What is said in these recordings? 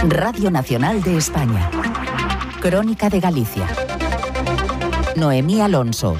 Radio Nacional de España. Crónica de Galicia. Noemí Alonso.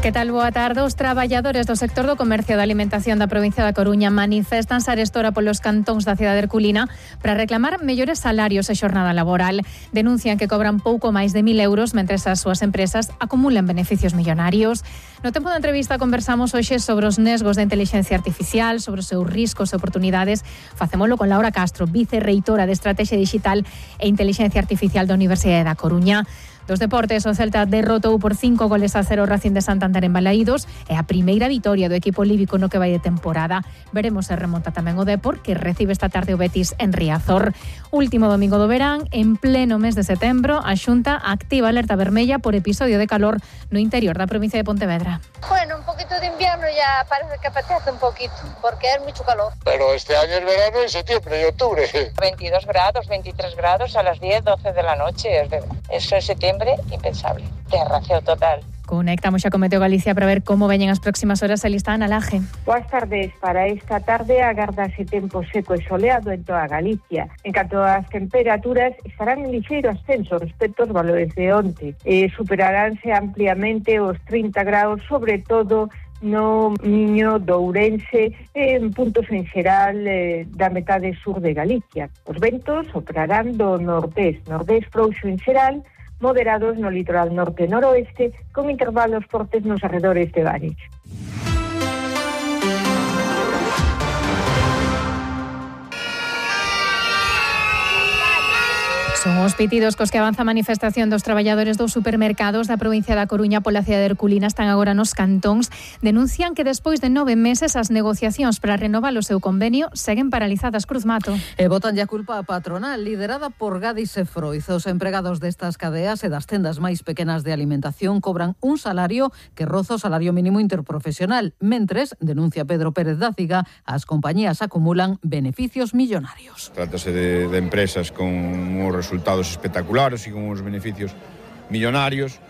Que tal, boa tarde? Os traballadores do sector do comercio da alimentación da provincia da Coruña manifestanse arestora polos cantóns da cidade herculina para reclamar mellores salarios e xornada laboral. Denuncian que cobran pouco máis de 1.000 euros mentres as súas empresas acumulan beneficios millonarios. No tempo da entrevista conversamos hoxe sobre os nesgos da inteligencia artificial, sobre os seus riscos e oportunidades. Facémolo con Laura Castro, vicerreitora de Estrategia Digital e Inteligencia Artificial da Universidade da Coruña. Dos deportes, o Celta derrotou por 5-0 o Racing de Santander en Balaídos e a primeira vitoria do equipo líbico no que vai de temporada. Veremos se remonta tamén o Depor, que recibe esta tarde o Betis en Riazor. Último domingo do verán, en pleno mes de setembro, a Xunta activa alerta vermella por episodio de calor no interior da provincia de Pontevedra. Bueno, un poquito de invierno ya parece que apetece un poquito, porque es mucho calor. Pero este año es verano en septiembre y octubre. 22 grados, 23 grados a las 10, 12 de la noche. Eso es septiembre. Impensable. Terraceo total. Conectamos xa con Meteo Galicia para ver como veñen as próximas horas a lista Ana Laje. Boas tardes. Para esta tarde agardase tempo seco e soleado en toda Galicia. En canto ás temperaturas, estarán en lixeiro ascenso respecto aos valores de onte. Superaránse ampliamente os 30 graus, sobre todo no Miño, do Ourense, en puntos en xeral da metade sur de Galicia. Os ventos operarán do nordés frouxo en xeral, moderados no litoral norte e noroeste, con intervalos fortes nos arredores de Bares. Son os pitidos cos que avanza a manifestación dos traballadores dos supermercados da provincia da Coruña pola cidade herculina. Están agora nos cantóns. Denuncian que despois de 9 meses as negociacións para renovar o seu convenio seguen paralizadas. Cruz Mato. E botan a culpa a patronal, liderada por Gadis e Froiz. Os empregados destas cadeas e das tendas máis pequenas de alimentación cobran un salario que roza o salario mínimo interprofesional. Mentres, denuncia Pedro Pérez da Ciga, as compañías acumulan beneficios millonarios. Trátase de empresas con un resultados espectaculares e con uns beneficios millonarios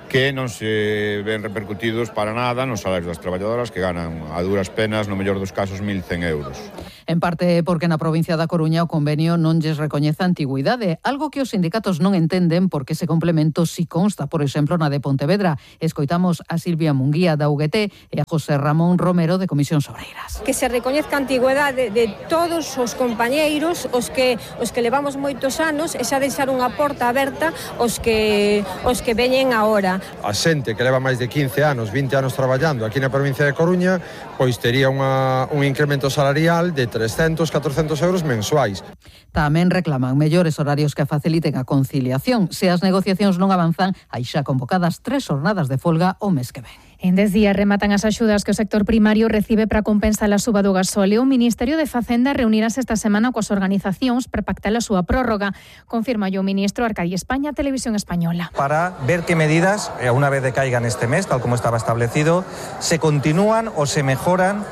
que non se ven repercutidos para nada nos salarios das traballadoras, que ganan a duras penas, no mellor dos casos, 1.100 euros. En parte porque na provincia da Coruña o convenio non lles recoñece a antigüidade, algo que os sindicatos non entenden porque ese complemento si consta, por exemplo, na de Pontevedra. Escoitamos a Silvia Munguía da UGT e a José Ramón Romero de Comisións Obreiras. Que se recoñezca a antigüidade de todos os compañeiros, os que levamos moitos anos, e xa deixar unha porta aberta os que veñen agora. A xente que leva máis de 15 anos, 20 anos traballando aquí na provincia de Coruña, pois tería un incremento salarial de 300, 400 euros mensuais. Tamén reclaman mellores horarios que faciliten a conciliación. Se as negociacións non avanzan, hai xa convocadas 3 jornadas de folga o mes que ven. En 10 días rematan as axudas que o sector primario recibe para compensar a suba do gasóleo. O Ministerio de Facenda reunirase esta semana coas organizacións para pactar a súa prórroga. Confirma o ministro Arcadi España, Televisión Española. Para ver qué medidas, una vez decaigan este mes, tal como estaba establecido, se continúan o se mejoran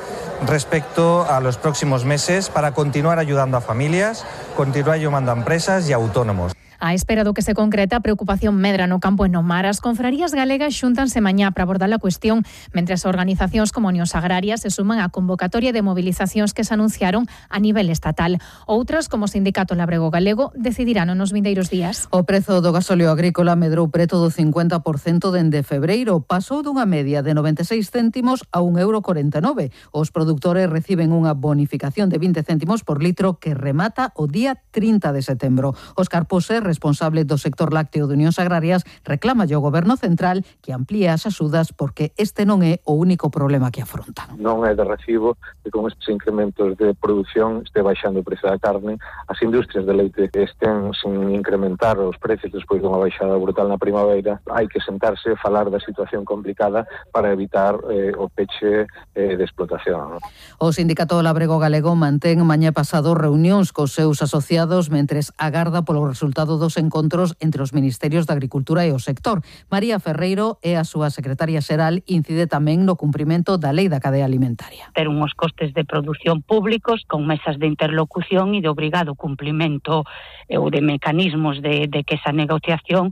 respecto a los próximos meses para continuar ayudando a familias, continuar ayudando a empresas y a autónomos. A espera do que se concreta, a preocupación medra no campo e no mar. As confrarías galegas xúntanse mañá para abordar a cuestión, mentres organizacións como Unións Agrarias se suman á convocatoria de movilizacións que se anunciaron a nivel estatal. Outras, como o Sindicato Labrego Galego, decidirán nos vindeiros días. O prezo do gasóleo agrícola medrou preto do 50% dende febreiro. Pasou dunha media de 96 céntimos a 1,49 €. Os produtores reciben unha bonificación de 20 céntimos por litro que remata o día 30 de setembro. Óscar Pose, responsable do sector lácteo de Unións Agrarias, reclama ao Goberno Central que amplíe as axudas porque este non é o único problema que afrontan. Non é de recibo que con estes incrementos de produción este baixando o precio da carne, as industrias de leite estén sin incrementar os precios despois dunha baixada brutal na primavera. Hai que sentarse e falar da situación complicada para evitar o peche de explotación. O Sindicato Labrego Galego mantén mañá pasado reunións cos seus asociados mentres agarda polo resultado resultado dos encontros entre os Ministerios da Agricultura e o sector. María Ferreiro é a súa secretaria xeral, incide tamén no cumprimento da Lei da Cadea Alimentaria. Ter unhos costes de produción públicos con mesas de interlocución e de obrigado cumplimento ou de mecanismos de que esa negociación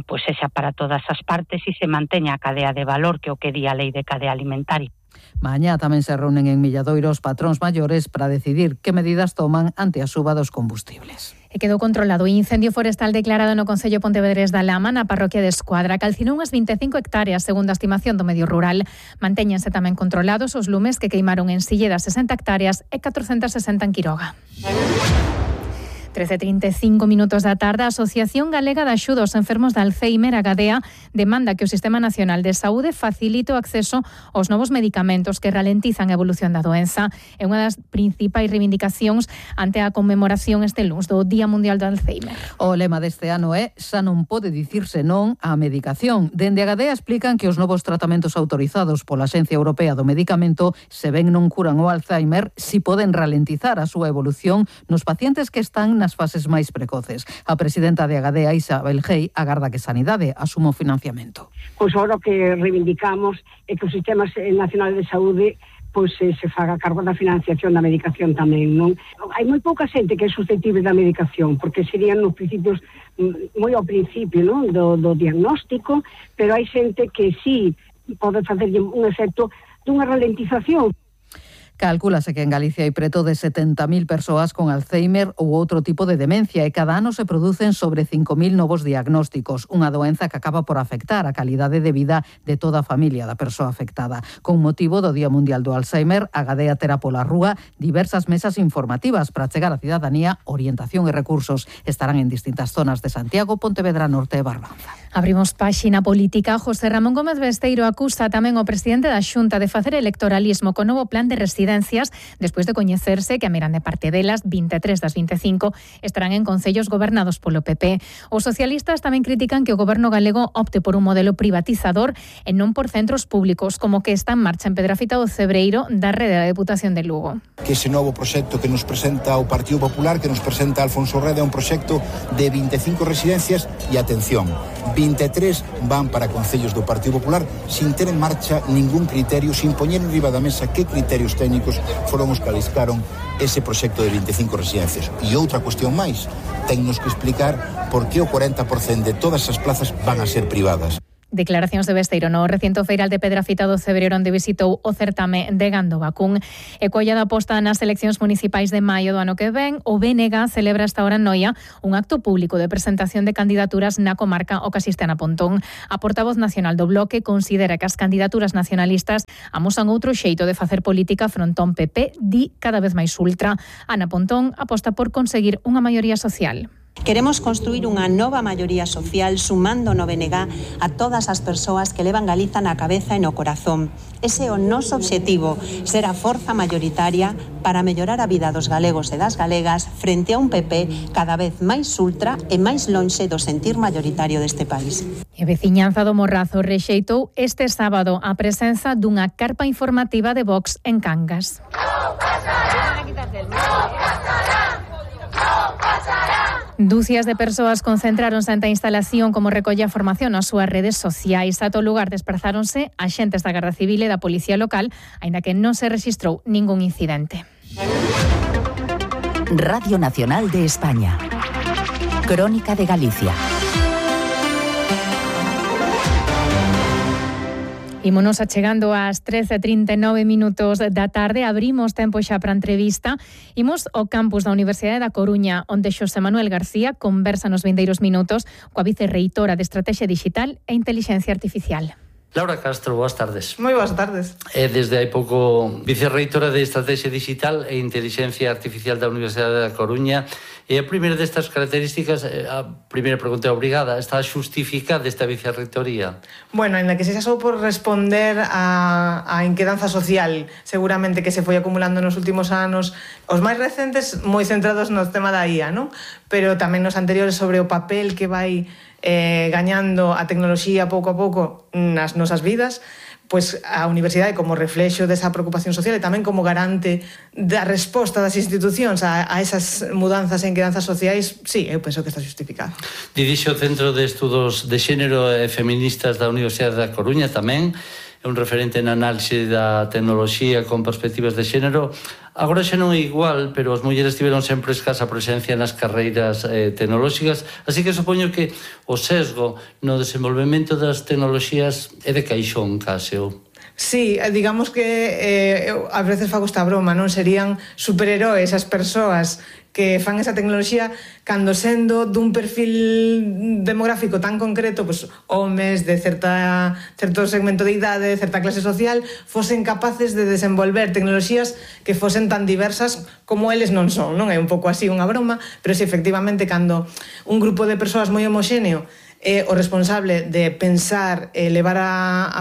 pues sexa para todas as partes e se manteña a cadea de valor que o que di a Lei de Cadea Alimentaria. Mañá tamén se reúnen en Milladoiro os patróns maiores para decidir que medidas toman ante a suba dos combustibles. E quedou controlado o incendio forestal declarado no Concello Pontevedrés da Lama, na parroquia de Escuadra. Calcinou unhas 25 hectáreas, segundo a estimación do medio rural. Mantéñense tamén controlados os lumes que queimaron en Silleda 60 hectáreas e 460 en Quiroga. 13:35 da tarde, a Asociación Galega de Axuda aos Enfermos de Alzheimer, a Gadea, demanda que o Sistema Nacional de Saúde facilite o acceso aos novos medicamentos que ralentizan a evolución da doenza. É unha das principais reivindicacións ante a conmemoración este luns do Día Mundial do Alzheimer. O lema deste ano é "Xa non pode dicirse non á medicación". Dende a Gadea explican que os novos tratamentos autorizados pola Axencia Europea do Medicamento, se ben non curan o Alzheimer, si poden ralentizar a súa evolución nos pacientes que están nas fases máis precoces. A presidenta de Agadea, Isabel Gei, agarda que Sanidade asuma o financiamento. Pois agora o que reivindicamos é que o Sistema Nacional de Saúde se faga cargo da financiación da medicación tamén, non? Hai moi pouca xente que é susceptible da medicación, porque serían nos principios, moi ao principio, non? Do diagnóstico, pero hai xente que sí pode facer un efecto dunha ralentización. Calcúlase que en Galicia hai preto de 70.000 persoas con Alzheimer ou outro tipo de demencia e cada ano se producen sobre 5.000 novos diagnósticos, unha doenza que acaba por afectar a calidade de vida de toda a familia da persoa afectada. Con motivo do Día Mundial do Alzheimer, a Gadea terá pola rúa diversas mesas informativas para chegar á cidadanía orientación e recursos. Estarán en distintas zonas de Santiago, Pontevedra Norte e Barbanza. Abrimos páxina política. José Ramón Gómez Besteiro acusa tamén o presidente da Xunta de facer electoralismo co novo plan de residencias despois de coñecerse que a miran de parte delas 23 das 25 estarán en concellos gobernados polo PP. Os socialistas tamén critican que o goberno galego opte por un modelo privatizador e non por centros públicos, como que está en marcha en Pedrafita do Cebreiro da rede da Deputación de Lugo. Que ese novo proxecto que nos presenta o Partido Popular, que nos presenta Alfonso Reda, é un proxecto de 25 residencias e atención, 23 van para concellos do Partido Popular sin ter en marcha ningún criterio, sin poñer en riba da mesa que criterios técnicos foron os que aliscaron ese proxecto de 25 residencias. E outra cuestión máis, tennos que explicar por que o 40% de todas as plazas van a ser privadas. Declaracións de Besteiro no recinto feiral de Pedrafita do Cebreiro, onde visitou o certame de Gando Vacún. E colla da posta nas eleccións municipais de maio do ano que ven, o BNG celebra esta hora en Noia un acto público de presentación de candidaturas na comarca o que asiste Ana Pontón. A portavoz nacional do Bloque considera que as candidaturas nacionalistas amosan outro xeito de facer política frontón PP, di cada vez máis ultra. Ana Pontón aposta por conseguir unha maioría social. Queremos construir unha nova maioría social sumando no BNG a todas as persoas que levan Galiza na cabeza e no corazón. Ese é o noso obxectivo, ser a forza maioritaria para mellorar a vida dos galegos e das galegas frente a un PP cada vez máis ultra e máis lonxe do sentir maioritario deste país. E veciñanza do Morrazo rexeitou este sábado a presenza dunha carpa informativa de Vox en Cangas. Dúcias de persoas concentráronse ante a instalación como recolle a formación nas súas redes sociais. A todo lugar desprazáronse axentes da Garda Civil e da Policía Local, aínda que non se rexistrou ningún incidente. Radio Nacional de España. Crónica de Galicia. Ímonos achegando ás 13:39 da tarde. Abrimos tempo xa para a entrevista. Imos ao campus da Universidade da Coruña, onde Xosé Manuel García conversa nos vindeiros minutos coa vicerreitora de Estrategia Digital e Intelixencia Artificial. Laura Castro, boas tardes. Moi boas tardes. Desde hai pouco vicerreitora de Estrategia Digital e Intelixencia Artificial da Universidade da Coruña. E a primeira destas características, a primeira pregunta obrigada, está justificada esta vicerreitoría? Bueno, en la que se xa sou por responder a inquedanza social, seguramente que se foi acumulando nos últimos anos, os máis recentes moi centrados no tema da IA, non? Pero tamén nos anteriores sobre o papel que vai gañando a tecnoloxía pouco a pouco nas nosas vidas. pois a universidade como reflexo desa preocupación social e tamén como garante da resposta das institucións a esas mudanzas e inquedanzas sociais, sí, eu penso que está justificado. Dirixe o Centro de Estudos de Xénero e Feministas da Universidade da Coruña tamén, é un referente na análise da tecnoloxía con perspectivas de xénero. Agora xa non é igual, pero as mulleres tiveron sempre escasa presencia nas carreiras tecnolóxicas, así que supoño que o sesgo no desenvolvemento das tecnoloxías é de caixón, case. Sí, digamos que a veces fago esta broma, non? Serían superheróis as persoas que fan esa tecnoloxía cando sendo dun perfil demográfico tan concreto, pues, homes de certo segmento de idade, de certa clase social, fosen capaces de desenvolver tecnoloxías que fosen tan diversas como eles non son, non? É un pouco así unha broma, pero si efectivamente cando un grupo de persoas moi homoxéneo é o responsable de pensar e levar a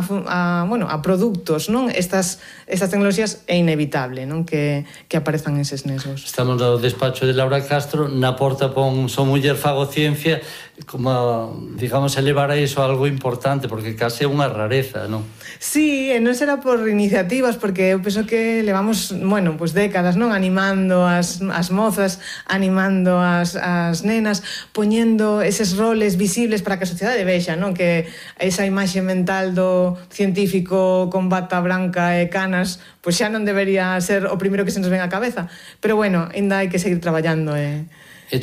produtos, non? Estas tecnoloxías é inevitable, non? Que aparezan eses nesos. Estamos no despacho de Laura Castro, na porta pon "Son muller, fago ciencia", como, digamos, elevar a iso algo importante, porque case é unha rareza, non? Sí, e non será por iniciativas, porque eu penso que levamos, pues décadas, non? Animando as mozas, animando as nenas, poñendo eses roles visibles para que a sociedade vexa, non? Que esa imaxe mental do científico con bata branca e canas, pois xa non debería ser o primeiro que se nos ven á cabeza. Pero bueno, ainda hai que seguir traballando. E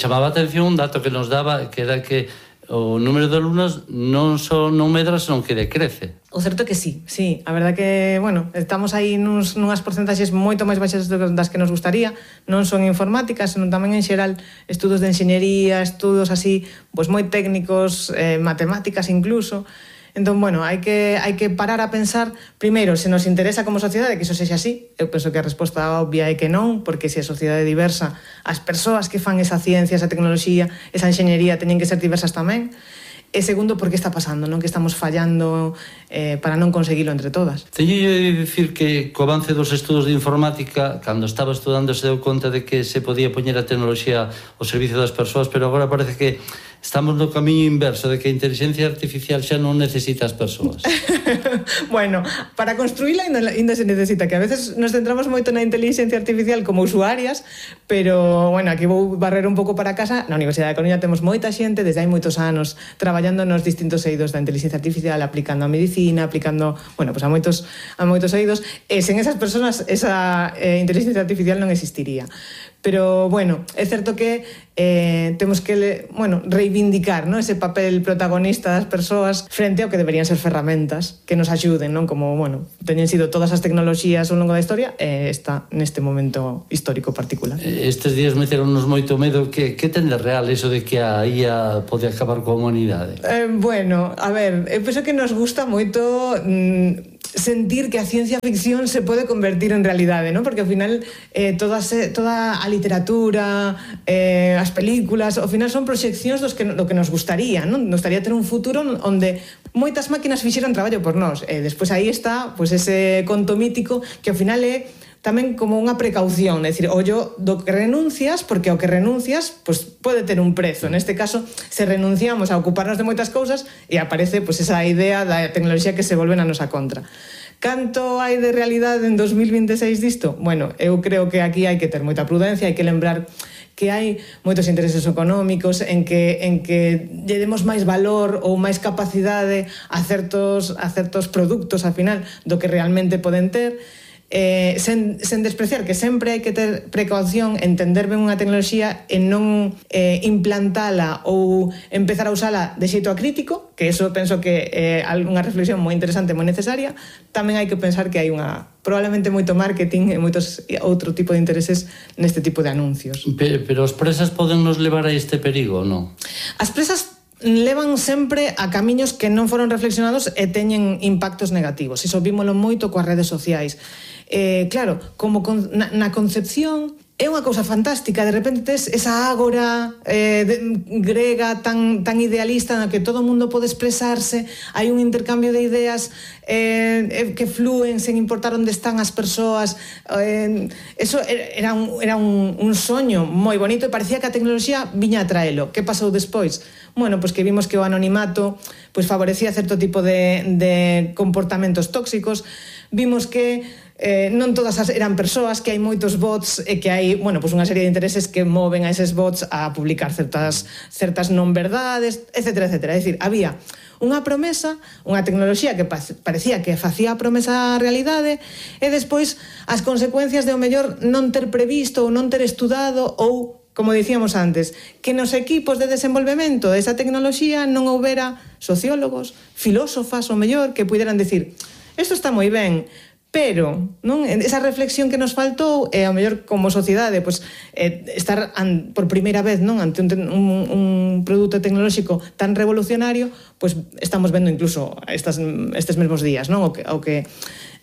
chamaba a atención un dato que nos daba, que era que o número de alumnos non medra, senón que decrece. O certo é que sí. A verdade que, estamos aí nunhas porcentaxes moito máis baixas das que nos gustaría. Non son informáticas, senón tamén en xeral estudos de enxeñería, estudos así, pois moi técnicos, matemáticas incluso. Entón, hai que parar a pensar, primeiro, se nos interesa como sociedade que iso sexa así. Eu penso que a resposta obvia é que non, porque se a sociedade é diversa, as persoas que fan esa ciencia, esa tecnoloxía, esa enxeñería teñen que ser diversas tamén. E segundo, por que está pasando, non? Que estamos fallando para non conseguilo entre todas. Teño de dicir que co avance dos estudos de informática, cando estaba estudando se deu conta de que se podía poñer a tecnoloxía ao servicio das persoas, pero agora parece que estamos no camiño inverso, de que a inteligencia artificial xa non necesita as persoas. Para construíla ainda se necesita, que a veces nos centramos moito na inteligencia artificial como usuarias, pero, aquí vou barrer un pouco para casa. Na Universidade de Coruña temos moita xente desde hai moitos anos traballando nos distintos eidos da inteligencia artificial, aplicando a medicina, aplicando, a moitos eidos, e sen esas persoas esa inteligencia artificial non existiría. Pero, é certo que temos que, reivindicar, non? Ese papel protagonista das persoas frente ao que deberían ser ferramentas que nos axuden, non? Como, teñen sido todas as tecnoloxías ao longo da historia e está neste momento histórico particular. Estes días meteronnos moito medo. Que ten de real iso de que a IA pode acabar coa humanidade? Eu penso que nos gusta moito sentir que a ciencia ficción se pode convertir en realidade, non? Porque ao final toda a literatura, as películas, ao final son proxeccións do que nos gustaría, non? Nos gustaría ter un futuro onde moitas máquinas fixeran traballo por nós. Despois aí está ese conto mítico que ao final é tamén como unha precaución, é dicir, ollo do que renuncias, porque ao que renuncias pode ter un prezo. Neste caso, se renunciamos a ocuparnos de moitas cousas e aparece esa idea da tecnoloxía que se volve na nosa contra. Canto hai de realidade en 2026 disto? Eu creo que aquí hai que ter moita prudencia, hai que lembrar que hai moitos intereses económicos en que lle demos máis valor ou máis capacidade a certos produtos, ao final, do que realmente poden ter, sen despreciar que sempre hai que ter precaución, entender ben unha tecnoloxía e non implantala ou empezar a usala de xeito acrítico, que eso penso que é unha reflexión moi interesante, moi necesaria. Tamén hai que pensar que hai probablemente moito marketing e moitos outro tipo de intereses neste tipo de anuncios. Pero as presas poden nos levar a este perigo, non? As presas levan sempre a camiños que non foron reflexionados e teñen impactos negativos. Iso vímolo moito coas redes sociais. Claro, como na concepción é unha cousa fantástica, de repente tes esa ágora grega tan idealista na que todo o mundo pode expresarse, hai un intercambio de ideas que flúen sen importar onde están as persoas. Eso era un soño moi bonito e parecía que a tecnoloxía viña a traelo. Que pasou despois? Bueno, pois que vimos que o anonimato pois favorecía certo tipo de comportamentos tóxicos, vimos que non todas eran persoas, que hai moitos bots e que hai, bueno, pois unha serie de intereses que moven a eses bots a publicar certas non verdades, etcétera, etcétera. É dicir, había unha promesa, unha tecnoloxía que parecía que facía a promesa a realidade e despois as consecuencias de o mellor non ter previsto ou non ter estudado ou, como dicíamos antes, que nos equipos de desenvolvemento desa tecnoloxía non houbera sociólogos, filósofas, ou mellor, que puderan decir isto está moi ben, pero non esa reflexión que nos faltou é ao mellor como sociedade pois estar por primeira vez non ante un produto tecnolóxico tan revolucionario, pois estamos vendo incluso estes mesmos días, non? O que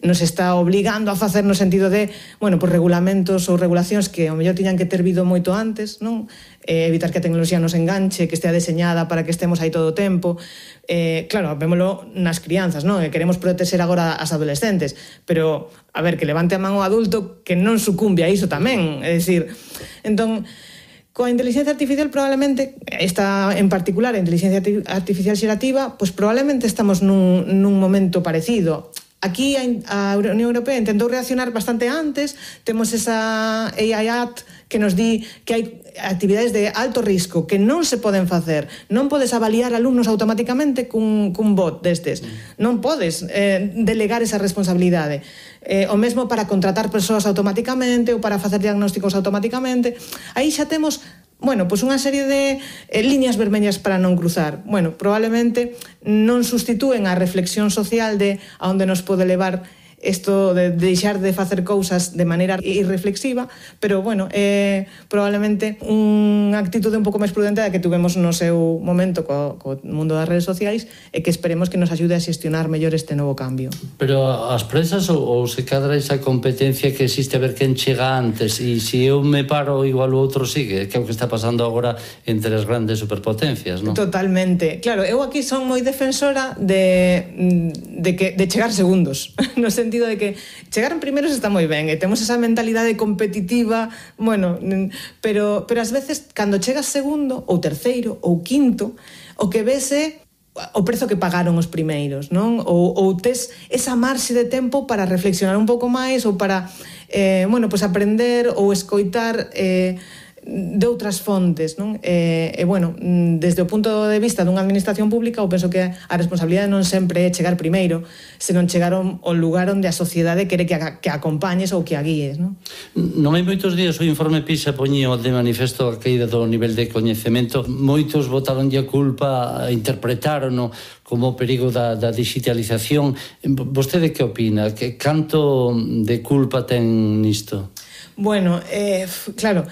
nos está obligando a facer no sentido de, bueno, pois regulamentos ou regulacións que ao mellor tiñan que ter vido moito antes, non? Evitar que a tecnoloxía nos enganche, que estea deseñada para que estemos aí todo o tempo. Claro, vémolo nas crianzas, non? Queremos proteger agora as adolescentes, pero, a ver, que levante a man o adulto que non sucumbe a iso tamén. É dicir, entón, coa inteligencia artificial probablemente, esta en particular, a inteligencia artificial xerativa, pois probablemente estamos nun momento parecido. Aquí a Unión Europea intentou reaccionar bastante antes, temos esa AI Act que nos di que hai actividades de alto risco que non se poden facer. Non podes avaliar alumnos automáticamente cun bot destes. Non podes delegar esa responsabilidade. O mesmo para contratar persoas automáticamente ou para facer diagnósticos automáticamente. Aí xa temos, bueno, pois unha serie de líneas vermellas para non cruzar. Bueno, probablemente non sustitúen a reflexión social de a onde nos pode levar isto de deixar de facer cousas de maneira irreflexiva, pero, bueno, probablemente unha actitude un pouco máis prudente da que tuvemos no seu momento co mundo das redes sociais e que esperemos que nos axude a xestionar mellor este novo cambio. Pero as presas ou se cadra esa competencia que existe a ver quen chega antes e se eu me paro igual o outro sigue, que é o que está pasando agora entre as grandes superpotencias, non? Totalmente. Claro, eu aquí son moi defensora de chegar segundos, no sentido de que chegar en primeiros está moi ben e temos esa mentalidade competitiva, bueno, pero ás veces cando chegas segundo ou terceiro ou quinto, o que ves é o prezo que pagaron os primeiros, non? Ou tes esa marxe de tempo para reflexionar un pouco máis ou para, bueno, pues aprender ou escoitar de outras fontes, non? Bueno, desde o punto de vista dunha administración pública, eu penso que a responsabilidade non sempre é chegar primeiro, senón chegar ao lugar onde a sociedade quere que acompañes ou que a guíes, non? Non hai moitos días o informe PISA poñía de manifesto a caída do nivel de coñecemento. Moitos botaronlle a culpa, interpretarono como o perigo da digitalización. Vostede que opina? Que canto de culpa ten nisto? Bueno, claro,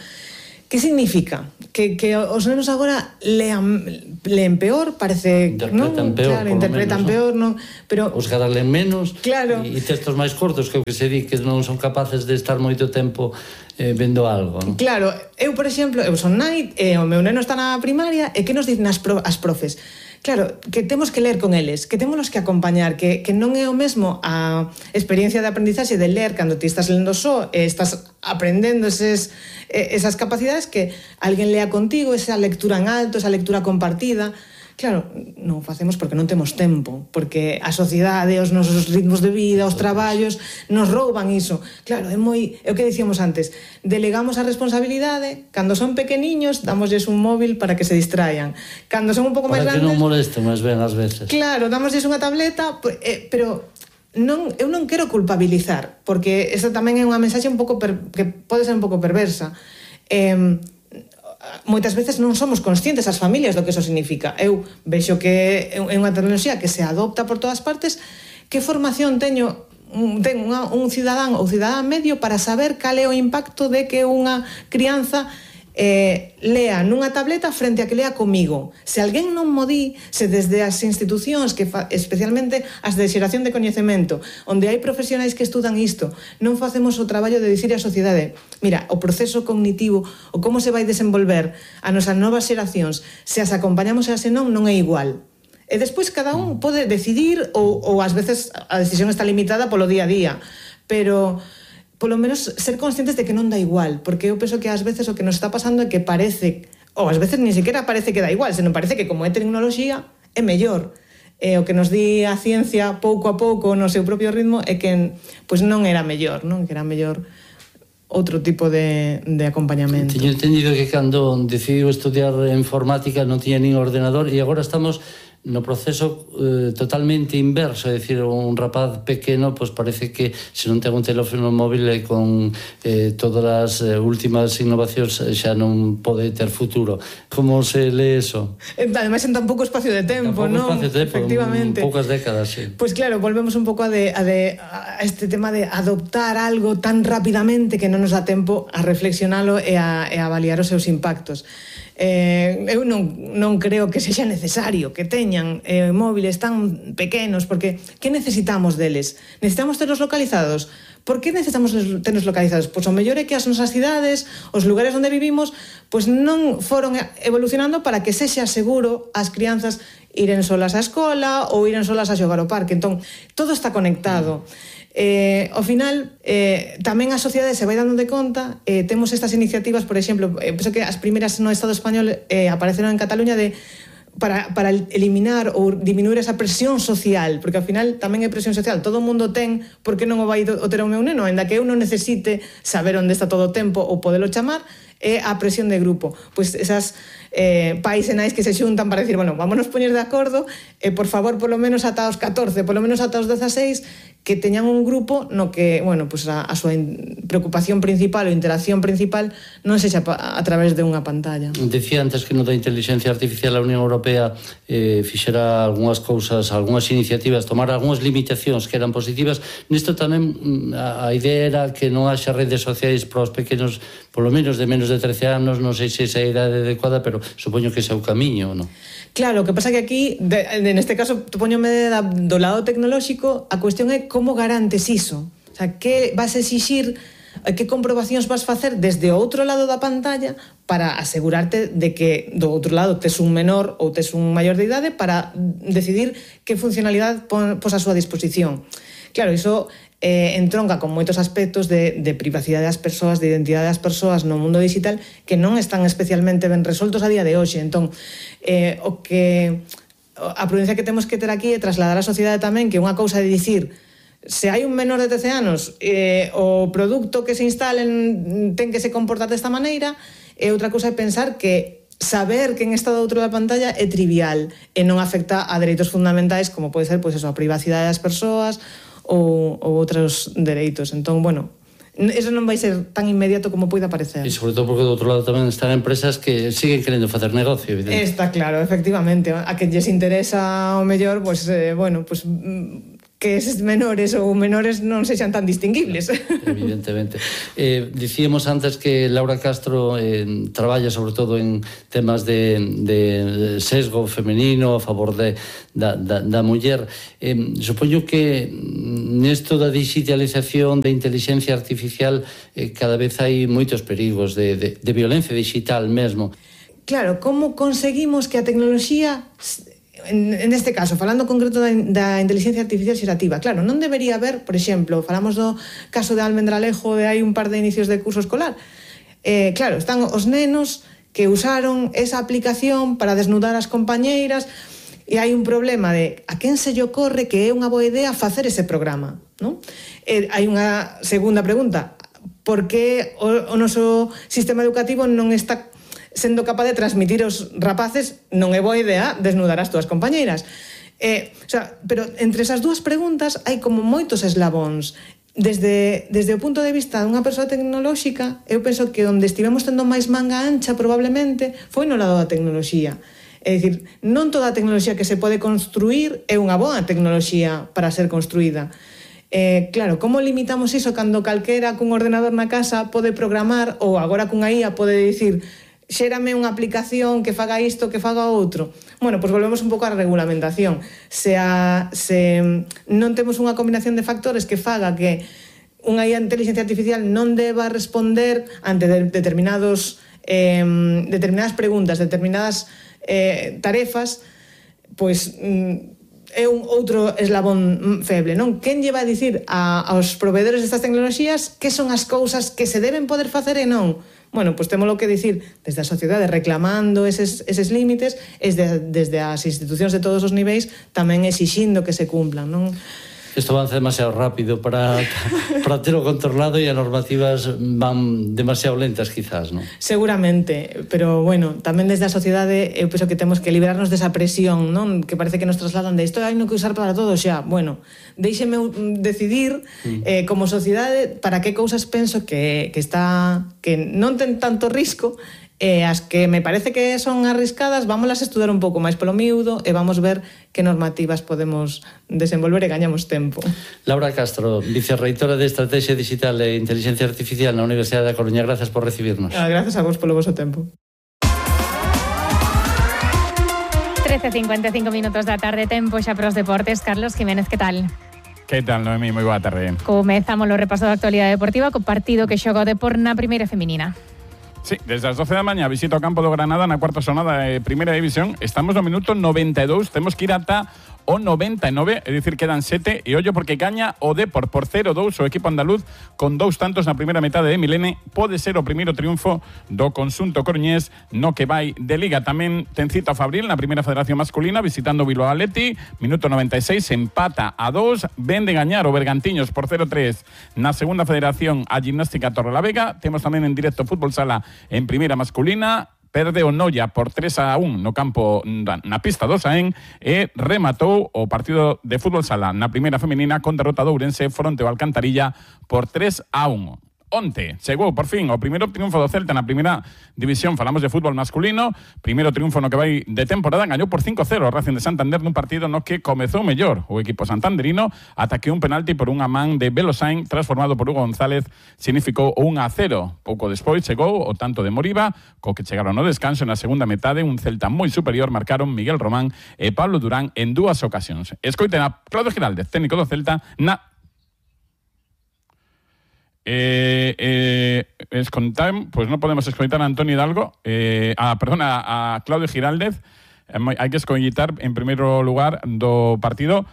que significa? Que os nenos agora leen peor, parece, interpretan non? Peor, claro, interpretan peor, non? Pero os caras leen menos, claro, e textos máis cortos que o que se di que non son capaces de estar moito tempo vendo algo, non? Claro, eu, por exemplo, eu son nai, o meu neno está na primaria, e que nos dicen as profes? Claro, que temos que ler con eles, que temos que acompañar, que non é o mesmo a experiencia de aprendizaxe de ler cando ti estás lendo só e estás aprendendo esas capacidades que alguén lea contigo, esa lectura en alto, esa lectura compartida. Claro, non o facemos porque non temos tempo, porque a sociedade, os nosos ritmos de vida, os traballos, nos rouban iso. Claro, é o que dicíamos antes, delegamos a responsabilidade, cando son pequeniños, damosles un móvil para que se distraian. Cando son un pouco máis grandes... Para que non molesten máis ben ás veces. Claro, damosles unha tableta, pero eu non quero culpabilizar, porque esa tamén é unha mensaxe un pouco que pode ser un pouco perversa. Moitas veces non somos conscientes as familias do que eso significa. Eu vexo que é unha tecnoloxía que se adopta por todas partes. Que formación ten un cidadán ou cidadán medio para saber cal é o impacto de que unha crianza lea nunha tableta frente a que lea comigo. Se alguén non mo di, se desde as institucións, especialmente as de xeración de coñecemento, onde hai profesionais que estudan isto, non facemos o traballo de dicir á sociedade, mira, o proceso cognitivo, o como se vai desenvolver a nosas novas xeracións, se as acompañamos e as non é igual. E despois cada un pode decidir, ou ás veces a decisión está limitada polo día a día, pero polo menos ser conscientes de que non dá igual, porque eu penso que ás veces o que nos está pasando é que parece, ou ás veces ni siquiera parece que dá igual, senón parece que como é tecnoloxía é mellor. O que nos di a ciencia pouco a pouco no seu propio ritmo é que pois non era mellor, non? Que era mellor outro tipo de acompañamento. Teño entendido que cando decidiu estudiar informática non tiña nin ordenador e agora estamos no proceso totalmente inverso, é dicir, un rapaz pequeno pois parece que se non ten un teléfono móvil e con todas as últimas innovacións xa non pode ter futuro. Como se lee eso? Ademais en tan pouco espacio de tempo, non? Efectivamente. Poucas décadas, sí. Pois claro, volvemos un pouco a este tema de adoptar algo tan rapidamente que non nos dá tempo a reflexionalo e a avaliar os seus impactos. Eu non creo que sexa necesario que teñan móviles tan pequenos, porque que necesitamos deles? Necesitamos terlos localizados? Por que necesitamos terlos localizados? Pois o mellor é que as nosas cidades, os lugares onde vivimos, pois non foron evolucionando para que sexa seguro as crianzas iren solas á escola ou iren solas a xogar ao parque. Entón, todo está conectado. Ao final, tamén a sociedade se vai dando de conta, temos estas iniciativas, por exemplo, penso que as primeras no Estado español apareceron en Cataluña para eliminar ou diminuir esa presión social, porque ao final tamén é presión social, todo o mundo ten, por que non o vai ter o meu neno, ainda que eu non necesite saber onde está todo o tempo ou podelo chamar, é a presión de grupo. Pois esas pais e nais que se xuntan para decir, bueno, vámonos poñer de acordo e por favor, polo menos ata os 14, polo menos ata os 16, que teñan un grupo no que, bueno, pues a súa preocupación principal ou interacción principal non sexa a través de unha pantalla. Decía antes que no da inteligencia artificial a Unión Europea fixera algunhas cousas, algunhas iniciativas, tomar algunhas limitacións que eran positivas. Nisto tamén a idea era que non haxa redes sociais para os pequenos, polo menos de menos de 13 anos, non sei se esa é a idade adecuada, pero supoño que ese é o camiño, non? Claro, o que pasa que aquí, neste caso, póñome do lado tecnolóxico, a cuestión é como garantes iso. O sea, que vas a exixir, que comprobacións vas facer desde o outro lado da pantalla para asegurarte de que do outro lado tes un menor ou tes un maior de idade para decidir que funcionalidade pos a súa disposición. Claro, iso entronca con moitos aspectos de privacidade das persoas, de identidade das persoas no mundo digital que non están especialmente ben resoltos a día de hoxe. Entón, a prudencia que temos que ter aquí é trasladar á sociedade tamén que unha cousa de dicir se hai un menor de 13 anos o produto que se instalen ten que se comportar desta maneira, e outra cousa é pensar que saber quen está do outro da pantalla é trivial e non afecta a dereitos fundamentais como pode ser pois eso, a privacidade das persoas ou outros dereitos. Entón, bueno, eso non vai ser tan inmediato como poida parecer. E sobre todo porque do outro lado tamén están empresas que siguen querendo facer negocio, evidente. Está claro, efectivamente. A que lles interesa o mellor, pois, bueno, pois que eses menores ou menores non sexan tan distinguibles. Evidentemente. Dicíamos antes que Laura Castro traballa sobre todo en temas de sesgo femenino a favor da muller. Supoño que nesto da digitalización, da inteligencia artificial, cada vez hai moitos perigos de violencia digital mesmo. Claro, como conseguimos que a tecnoloxía... En este caso, falando concreto da inteligencia artificial xerativa, claro, non debería haber, por exemplo, falamos do caso de Almendralejo de hai un par de inicios de curso escolar, claro, están os nenos que usaron esa aplicación para desnudar as compañeiras e hai un problema de a quen se lle ocorre que é unha boa idea facer ese programa, non? Hai unha segunda pregunta, por que o noso sistema educativo non está sendo capaz de transmitir aos rapaces non é boa idea desnudar as túas compañeiras. Pero entre esas dúas preguntas hai como moitos eslabóns. Desde o punto de vista dunha persoa tecnolóxica, eu penso que onde estivemos tendo máis manga ancha probablemente foi no lado da tecnoloxía. É dicir, non toda a tecnoloxía que se pode construir é unha boa tecnoloxía para ser construída. Claro, como limitamos iso cando calquera cun ordenador na casa pode programar ou agora cunha IA pode dicir xérame unha aplicación que faga isto, que faga outro. Bueno, pois volvemos un pouco á regulamentación. Se non temos unha combinación de factores que faga que unha inteligencia artificial non deba responder ante determinadas preguntas, determinadas tarefas, pois é un outro eslabón feble, non? Quen lle va a dicir aos proveedores destas tecnoloxías que son as cousas que se deben poder facer e non? Bueno, pois temos que dicir desde a sociedade reclamando eses límites, desde as institucións de todos os niveis tamén exixindo que se cumplan, non? Isto avanza demasiado rápido para terlo controlado e as normativas van demasiado lentas, quizás, non? Seguramente, pero bueno, tamén desde a sociedade eu penso que temos que liberarnos desa presión, non? Que parece que nos trasladan de isto hai no que usar para todo xa. Bueno, deixeme decidir como sociedade para que cousas penso que non ten tanto risco, as que me parece que son arriscadas, vámolas estudar un pouco máis polo miúdo e vamos ver que normativas podemos desenvolver e gañamos tempo. Laura Castro, vicerreitora de Estrategia Digital e Inteligencia Artificial na Universidade da Coruña, gracias por recibirnos. Gracias a vos polo voso tempo. 13:55 minutos da tarde, tempo xa para os deportes. Carlos Jiménez, que tal? Que tal, Noemí? Moi boa tarde. Comezamos o repaso da actualidade deportiva co partido que xoga o Depor na primeira feminina. Sí, desde as 12 da mañá visita o campo do Granada na cuarta xornada de Primeira División. Estamos no minuto 92, temos que ir ata o 99, é dicir, quedan 7 e ollo porque gaña o Depor por 0-2 o equipo andaluz con 2 tantos na primeira metade de Milene. Pode ser o primeiro triunfo do conxunto coruñés no que vai de Liga. Tamén ten cita o Fabril na primeira federación masculina visitando o Bilbao Athletic, minuto 96, empata a 2, ven de gañar o Bergantiños por 0-3 na segunda federación a Gimnástica Torrelavega. Temos tamén en directo Fútbol Sala en primeira masculina. Perde o Noia por 3-1 no campo na pista do Saén e rematou o partido de fútbol sala na primeira feminina con derrota do Ourense fronte ao Alcantarilla por 3-1. Onte chegou por fin o primeiro triunfo do Celta na primeira división. Falamos de fútbol masculino, primeiro triunfo no que vai de temporada. Gañou por 5-0 o Racing de Santander nun partido no que comezou mellor o equipo santanderino, ata que un penalti por unha man de Belosain transformado por Hugo González significou 1-0. Pouco despois chegou o tanto de Moriba, co que chegaron no descanso na segunda metade. Un Celta moi superior marcaron Miguel Román e Pablo Durán en 2 ocasións. Escoiten a Claudio Giraldez, técnico do Celta, na pois non podemos escoitar a Antonio Hidalgo, a Claudio Giraldez. Hai que escoitar en primeiro lugar do partido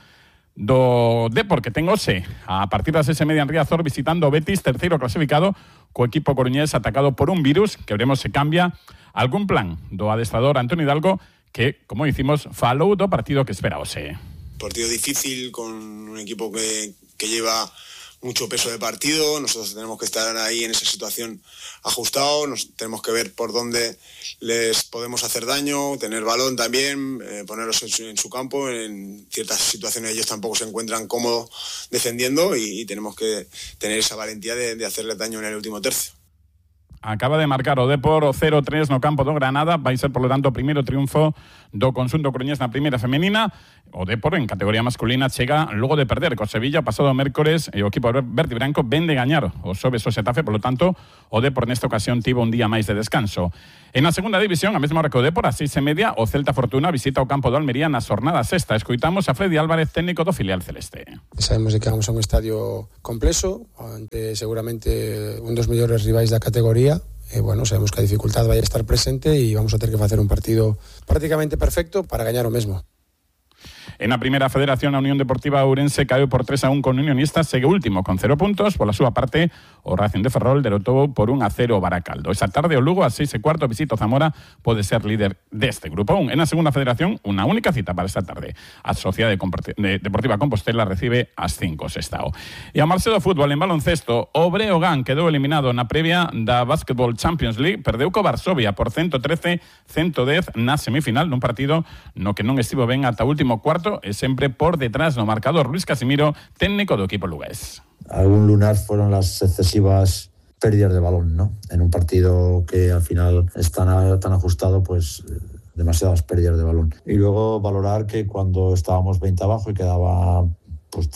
do Depor, que ten hoxe a partir das 6:30 en Riazor visitando o Betis, terceiro clasificado, co equipo coruñés atacado por un virus, que veremos se cambia algún plan do adestrador Antonio Hidalgo, que, como dicimos, falou do partido que espera hoxe. Partido difícil con un equipo que lleva mucho peso de partido. Nosotros tenemos que estar ahí en esa situación ajustados, tenemos que ver por dónde les podemos hacer daño, tener balón también, ponerlos en su campo. En ciertas situaciones ellos tampoco se encuentran cómodos defendiendo y tenemos que tener esa valentía de hacerles daño en el último tercio. Acaba de marcar o Depor o 0-3 no campo do Granada. Vai ser, polo tanto, o primeiro triunfo do conxunto coruñés na primeira femenina. O Depor en categoría masculina chega logo de perder co Sevilla pasado mércores e o equipo verde e branco ven de gañar o Xoves o Xetafe. Polo tanto, o Depor nesta ocasión tivo un día máis de descanso. En a segunda división, a mesma hora que o Depor, a 6:30, o Celta Fortuna visita o campo do Almería na xornada sexta. Escoitamos a Freddy Álvarez, técnico do filial celeste. Sabemos que vamos a un estadio complexo, ante seguramente un dos mellores rivais da categoría. Bueno, sabemos que a dificultad vai estar presente e vamos a ter que facer un partido prácticamente perfecto para gañar o mesmo. En a primeira federación, a Unión Deportiva Ourense caeu por 3-1 con Unionistas, segue último con 0 puntos. Pola súa parte, o Racing de Ferrol derrotou por 1-0 o Baracaldo. Esa tarde o Lugo, a 6:15, visita o Zamora, pode ser líder deste grupo 1. En a segunda federación, unha única cita para esta tarde. A Sociedade Deportiva Compostela recibe as 5 Sestao. E a marcha do fútbol en baloncesto, o Breogán quedou eliminado na previa da Basketball Champions League, perdeu co Varsovia por 113-110 na semifinal, nun partido no que non estivo ben ata o último cuarto e sempre por detrás no marcador. Luis Casimiro, técnico do equipo lugués. Algún lunar fueron las excesivas pérdidas de balón, ¿no? En un partido que al final es tan ajustado, pues demasiadas pérdidas de balón. Y luego valorar que cuando estábamos 20 abajo y quedaba pues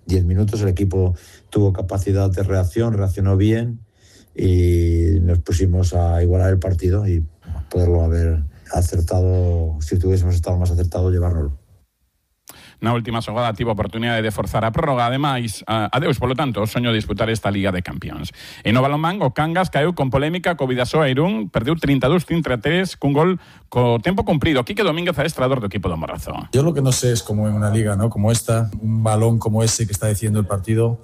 10 minutos, el equipo tuvo capacidad de reacción, reaccionó bien y nos pusimos a igualar el partido y poderlo haber acertado, si tuviésemos estado más acertado, llevárnoslo. Na última xogada tivo a oportunidade de forzar a prórroga, ademais, adeus, polo tanto, o soño de disputar esta Liga de Campións. E no balonmán, o Cangas caeu con polémica co Vidasoa Irún, perdeu 32-33 cun gol co tempo cumprido. Quique Domínguez, adestrador do equipo do Morrazo. Yo lo que no sé es cómo en una liga, ¿no?, como esta, un balón como ese que está decidiendo el partido,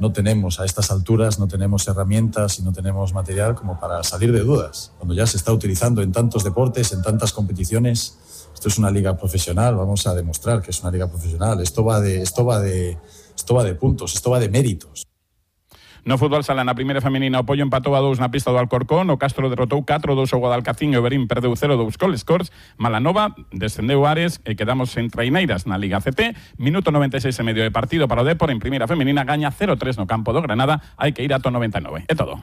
no tenemos a estas alturas, no tenemos herramientas y no tenemos material como para salir de dudas. Cuando ya se está utilizando en tantos deportes, en tantas competiciones. Esto es una liga profesional, vamos a demostrar que es una liga profesional. Esto va de puntos, esto va de méritos. No fútbol sala na primeira feminina, o Pollo empatou a 2 na pista do Alcorcón, o Castro derrotou 4-2 o Guadalcacín e o Berín perdeu 0-2 col Scores, Malanova descendeu Ares e quedamos en traineiras na Liga CT, minuto 96 e medio de partido para o Depor, en primeira feminina gaña 0-3 no campo do Granada, hai que ir ata 99. É todo.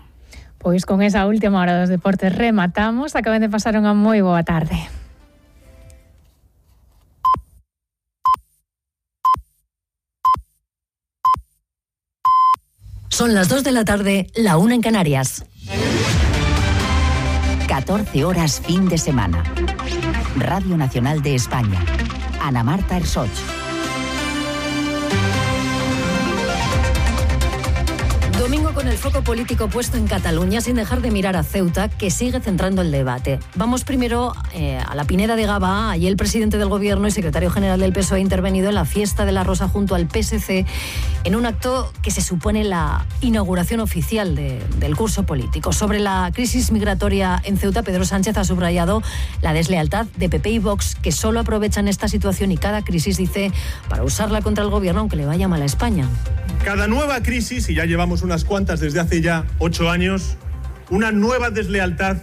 Pois con esa última hora dos deportes rematamos, acaben de pasar unha moi boa tarde. Son las 2 de la tarde, la 1 en Canarias. 14 horas fin de semana. Radio Nacional de España. Ana Marta Ersoch. Domingo con el foco político puesto en Cataluña sin dejar de mirar a Ceuta, que sigue centrando el debate. Vamos primero a la Pineda de Gavà. Allí el presidente del Gobierno y secretario general del PSOE ha intervenido en la fiesta de la Rosa junto al PSC en un acto que se supone la inauguración oficial del curso político. Sobre la crisis migratoria en Ceuta, Pedro Sánchez ha subrayado la deslealtad de PP y Vox, que solo aprovechan esta situación y cada crisis, dice, para usarla contra el Gobierno aunque le vaya mal a España. Cada nueva crisis, y ya llevamos unas cuantas desde hace ya 8 años, una nueva deslealtad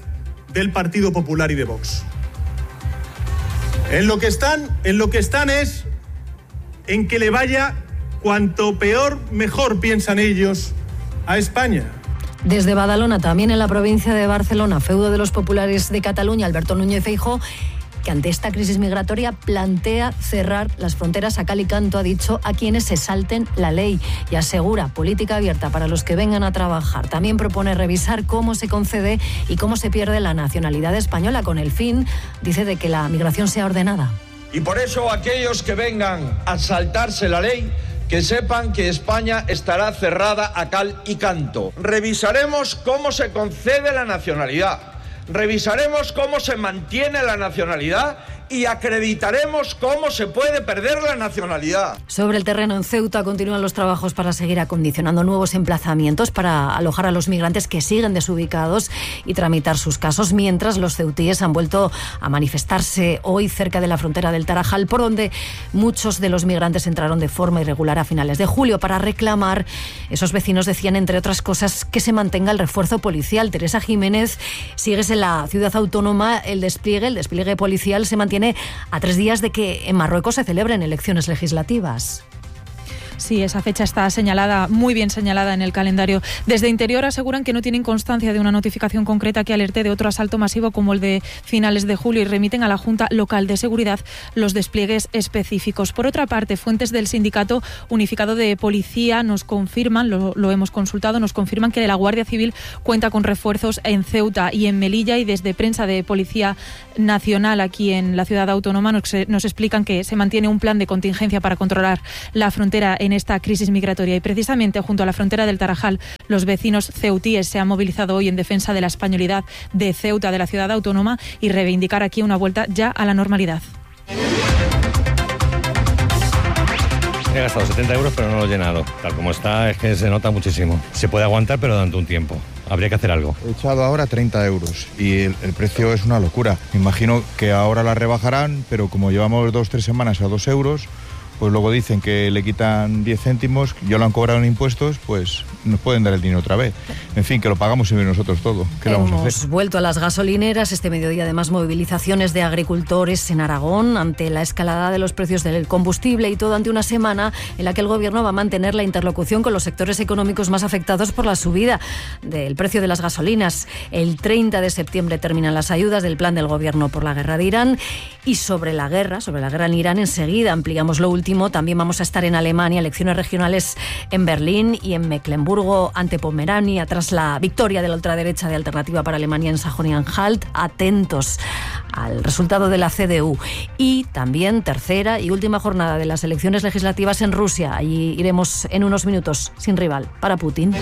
del Partido Popular y de Vox. En lo que están es en que le vaya cuanto peor, mejor, piensan ellos, a España. Desde Badalona, también en la provincia de Barcelona, feudo de los populares de Cataluña, Alberto Núñez Feijóo, que ante esta crisis migratoria plantea cerrar las fronteras a cal y canto, ha dicho, a quienes se salten la ley, y asegura política abierta para los que vengan a trabajar. También propone revisar cómo se concede y cómo se pierde la nacionalidad española, con el fin, dice, de que la migración sea ordenada. Y por eso aquellos que vengan a saltarse la ley, que sepan que España estará cerrada a cal y canto. Revisaremos cómo se concede la nacionalidad. Revisaremos cómo se mantiene la nacionalidad y acreditaremos cómo se puede perder la nacionalidad. Sobre el terreno en Ceuta continúan los trabajos para seguir acondicionando nuevos emplazamientos para alojar a los migrantes que siguen desubicados y tramitar sus casos, mientras los ceutíes han vuelto a manifestarse hoy cerca de la frontera del Tarajal, por donde muchos de los migrantes entraron de forma irregular a finales de julio para reclamar. Esos vecinos decían, entre otras cosas, que se mantenga el refuerzo policial. Teresa Jiménez, sigues en la ciudad autónoma, el despliegue policial se mantiene a 3 días de que en Marruecos se celebren elecciones legislativas. Sí, esa fecha está señalada, muy bien señalada en el calendario. Desde Interior aseguran que no tienen constancia de una notificación concreta que alerte de otro asalto masivo como el de finales de julio y remiten a la Junta Local de Seguridad los despliegues específicos. Por otra parte, fuentes del Sindicato Unificado de Policía nos confirman, lo hemos consultado, nos confirman que la Guardia Civil cuenta con refuerzos en Ceuta y en Melilla, y desde prensa de Policía Nacional aquí en la ciudad autónoma nos explican que se mantiene un plan de contingencia para controlar la frontera en esta crisis migratoria, y precisamente junto a la frontera del Tarajal los vecinos ceutíes se han movilizado hoy en defensa de la españolidad de Ceuta, de la ciudad autónoma, y reivindicar aquí una vuelta ya a la normalidad. He gastado 70 euros pero no lo he llenado. Tal como está es que se nota muchísimo. Se puede aguantar pero durante un tiempo. Habría que hacer algo. He echado ahora 30 euros y el precio es una locura. Me imagino que ahora la rebajarán, pero como llevamos 2-3 semanas a 2 euros, pues luego dicen que le quitan 10 céntimos, ya lo han cobrado en impuestos, pues nos pueden dar el dinero otra vez. En fin, que lo pagamos siempre nosotros todo. ¿Qué vamos a hacer? Hemos vuelto a las gasolineras. Este mediodía, además, movilizaciones de agricultores en Aragón ante la escalada de los precios del combustible, y todo ante una semana en la que el Gobierno va a mantener la interlocución con los sectores económicos más afectados por la subida del precio de las gasolinas. El 30 de septiembre terminan las ayudas del plan del Gobierno por la guerra de Irán, y sobre la guerra en Irán enseguida ampliamos lo último último, también vamos a estar en Alemania, elecciones regionales en Berlín y en Mecklemburgo ante Pomerania, tras la victoria de la ultraderecha de Alternativa para Alemania en Sajonia-Anhalt. Atentos al resultado de la CDU. Y también tercera y última jornada de las elecciones legislativas en Rusia. Allí iremos en unos minutos, sin rival para Putin.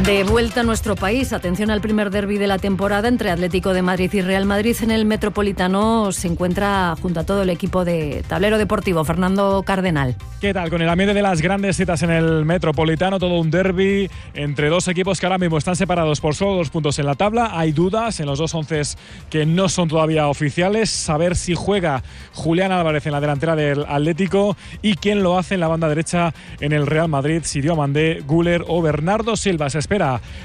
De vuelta a nuestro país, atención al primer derbi de la temporada entre Atlético de Madrid y Real Madrid. En el Metropolitano se encuentra junto a todo el equipo de Tablero Deportivo, Fernando Cardenal. ¿Qué tal? Con el ambiente de las grandes citas en el Metropolitano, todo un derbi entre dos equipos que ahora mismo están separados por solo 2 puntos en la tabla. Hay dudas en los dos onces que no son todavía oficiales. Saber si juega Julián Álvarez en la delantera del Atlético y quién lo hace en la banda derecha en el Real Madrid, si Diomandé, Güler o Bernardo Silva. Se espera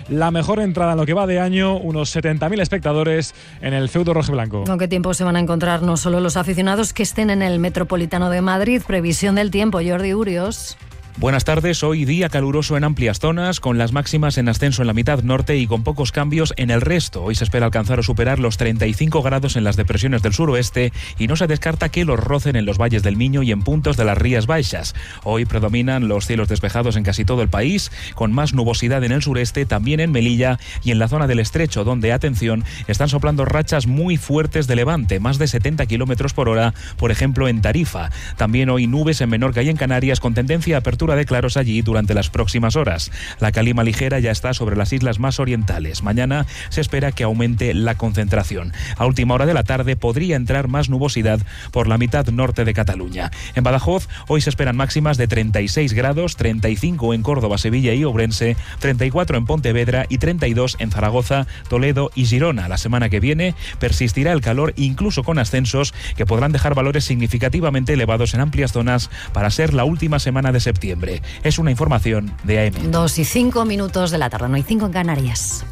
la mejor entrada en lo que va de año, unos 70.000 espectadores en el feudo rojiblanco. ¿Con qué tiempo se van a encontrar no solo los aficionados que estén en el Metropolitano de Madrid? Previsión del tiempo, Jordi Urios. Buenas tardes, hoy día caluroso en amplias zonas, con las máximas en ascenso en la mitad norte y con pocos cambios en el resto. Hoy se espera alcanzar o superar los 35 grados en las depresiones del suroeste y no se descarta que los rocen en los valles del Miño y en puntos de las Rías Baixas. Hoy predominan los cielos despejados en casi todo el país, con más nubosidad en el sureste, también en Melilla y en la zona del Estrecho, donde, atención, están soplando rachas muy fuertes de levante, más de 70 kilómetros por hora, por ejemplo en Tarifa. También hoy nubes en Menorca y en Canarias, con tendencia a apertura de claros allí durante las próximas horas. La calima ligera ya está sobre las islas más orientales. Mañana se espera que aumente la concentración. A última hora de la tarde podría entrar más nubosidad por la mitad norte de Cataluña. En Badajoz hoy se esperan máximas de 36 grados, 35 en Córdoba, Sevilla y Ourense, 34 en Pontevedra y 32 en Zaragoza, Toledo y Girona. La semana que viene persistirá el calor, incluso con ascensos que podrán dejar valores significativamente elevados en amplias zonas para ser la última semana de septiembre. Es una información de AM. 2:05 de la tarde, no hay 5 en Canarias.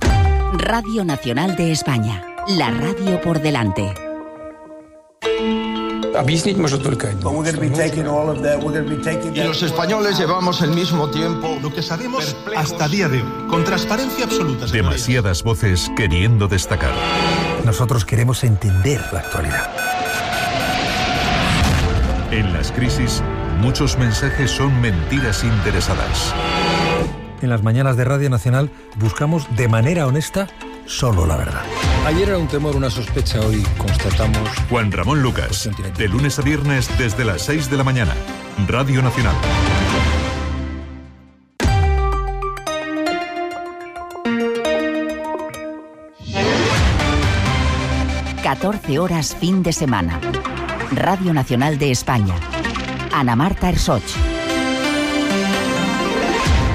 Radio Nacional de España, la radio por delante. Y los españoles llevamos el mismo tiempo. Lo que sabemos hasta día de hoy, con transparencia absoluta. Demasiadas voces queriendo destacar. Nosotros queremos entender la actualidad. En las crisis, muchos mensajes son mentiras interesadas. En las mañanas de Radio Nacional buscamos de manera honesta solo la verdad. Ayer era un temor, una sospecha, hoy constatamos... Juan Ramón Lucas, de lunes a viernes desde las 6 de la mañana. Radio Nacional. ...14 fin de semana. Radio Nacional de España. Ana Marta Ersoch.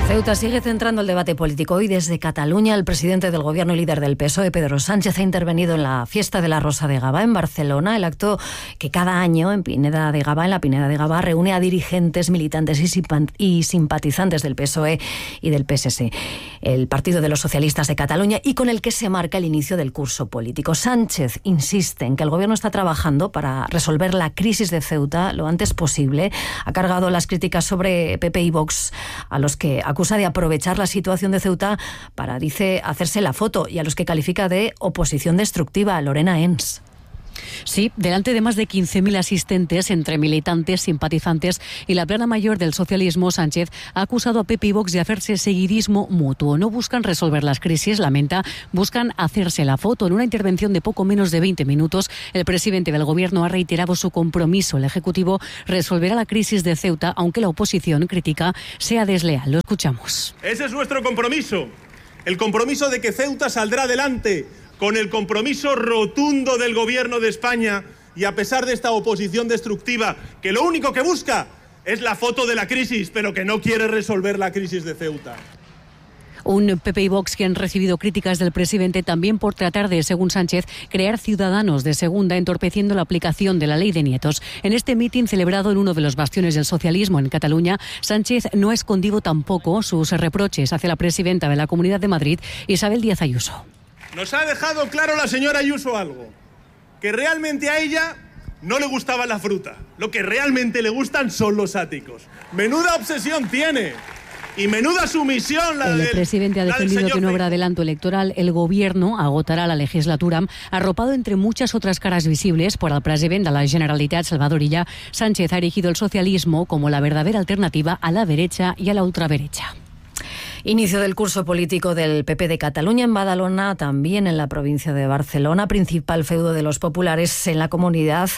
Ceuta sigue centrando el debate político. Hoy desde Cataluña, el presidente del Gobierno y líder del PSOE, Pedro Sánchez, ha intervenido en la fiesta de la Rosa de Gavà en Barcelona, el acto que cada año en Pineda de Gavà, reúne a dirigentes, militantes y simpatizantes del PSOE y del PSC, el Partido de los Socialistas de Cataluña, y con el que se marca el inicio del curso político. Sánchez insiste en que el Gobierno está trabajando para resolver la crisis de Ceuta lo antes posible. Ha cargado las críticas sobre PP y Vox, a los que acusa de aprovechar la situación de Ceuta para, dice, hacerse la foto, y a los que califica de oposición destructiva. Lorena Ens. Sí, delante de más de 15.000 asistentes, entre militantes, simpatizantes y la plana mayor del socialismo, Sánchez ha acusado a PP y Vox de hacerse seguidismo mutuo. No buscan resolver las crisis, lamenta, buscan hacerse la foto. En una intervención de poco menos de 20 minutos, el presidente del Gobierno ha reiterado su compromiso. El Ejecutivo resolverá la crisis de Ceuta, aunque la oposición crítica sea desleal. Lo escuchamos. Ese es nuestro compromiso, el compromiso de que Ceuta saldrá adelante, con el compromiso rotundo del Gobierno de España, y a pesar de esta oposición destructiva, que lo único que busca es la foto de la crisis, pero que no quiere resolver la crisis de Ceuta. Un PP y Vox que han recibido críticas del presidente también por tratar de, según Sánchez, crear ciudadanos de segunda, entorpeciendo la aplicación de la ley de nietos. En este mitin celebrado en uno de los bastiones del socialismo en Cataluña, Sánchez no ha escondido tampoco sus reproches hacia la presidenta de la Comunidad de Madrid, Isabel Díaz Ayuso. Nos ha dejado claro la señora Ayuso algo, que realmente a ella no le gustaba la fruta. Lo que realmente le gustan son los áticos. Menuda obsesión tiene Y menuda sumisión la El presidente ha defendido que no habrá adelanto electoral. El gobierno agotará la legislatura, arropado entre muchas otras caras visibles por el presidente de la Generalitat, Salvador Illa. Sánchez ha erigido el socialismo como la verdadera alternativa a la derecha y a la ultraderecha. Inicio del curso político del PP de Cataluña en Badalona, también en la provincia de Barcelona, principal feudo de los populares en la comunidad.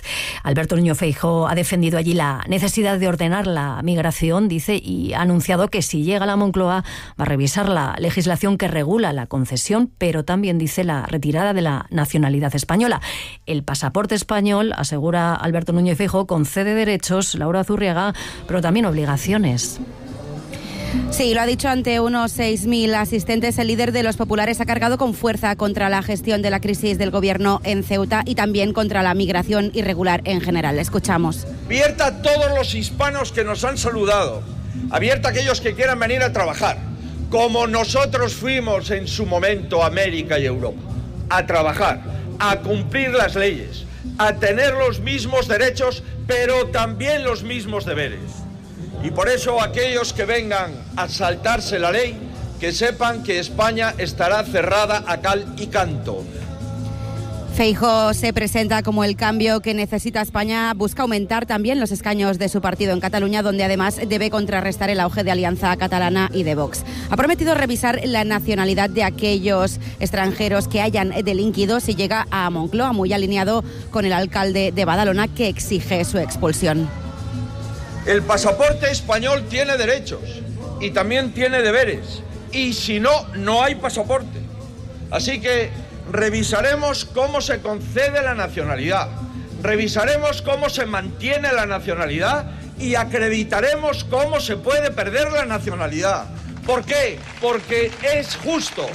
Alberto Núñez Feijóo ha defendido allí la necesidad de ordenar la migración, dice, y ha anunciado que si llega a la Moncloa va a revisar la legislación que regula la concesión, pero también dice la retirada de la nacionalidad española. El pasaporte español, asegura Alberto Núñez Feijóo, concede derechos, Laura Zurriaga, pero también obligaciones. Sí, lo ha dicho ante unos 6.000 asistentes. El líder de los populares ha cargado con fuerza contra la gestión de la crisis del gobierno en Ceuta y también contra la migración irregular en general. Escuchamos. Abierta a todos los hispanos que nos han saludado. Abierta a aquellos que quieran venir a trabajar, como nosotros fuimos en su momento a América y Europa. A trabajar, a cumplir las leyes, a tener los mismos derechos, pero también los mismos deberes. Y por eso aquellos que vengan a saltarse la ley, que sepan que España estará cerrada a cal y canto. Feijóo se presenta como el cambio que necesita España. Busca aumentar también los escaños de su partido en Cataluña, donde además debe contrarrestar el auge de Alianza Catalana y de Vox. Ha prometido revisar la nacionalidad de aquellos extranjeros que hayan delinquido si llega a Moncloa, muy alineado con el alcalde de Badalona, que exige su expulsión. El pasaporte español tiene derechos y también tiene deberes. Y si no, no hay pasaporte. Así que revisaremos cómo se concede la nacionalidad, revisaremos cómo se mantiene la nacionalidad y acreditaremos cómo se puede perder la nacionalidad. ¿Por qué? Porque es justo.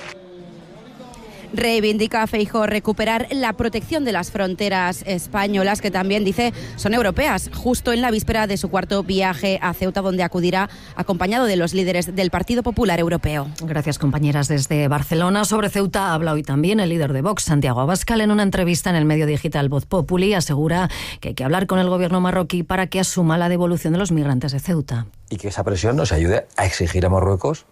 Reivindica Feijóo recuperar la protección de las fronteras españolas, que también dice son europeas, justo en la víspera de su cuarto viaje a Ceuta, donde acudirá acompañado de los líderes del Partido Popular Europeo. Gracias, compañeras, desde Barcelona. Sobre Ceuta habla hoy también el líder de Vox, Santiago Abascal. En una entrevista en el medio digital Voz Populi asegura que hay que hablar con el gobierno marroquí para que asuma la devolución de los migrantes de Ceuta. Y que esa presión nos ayude a exigir a Marruecos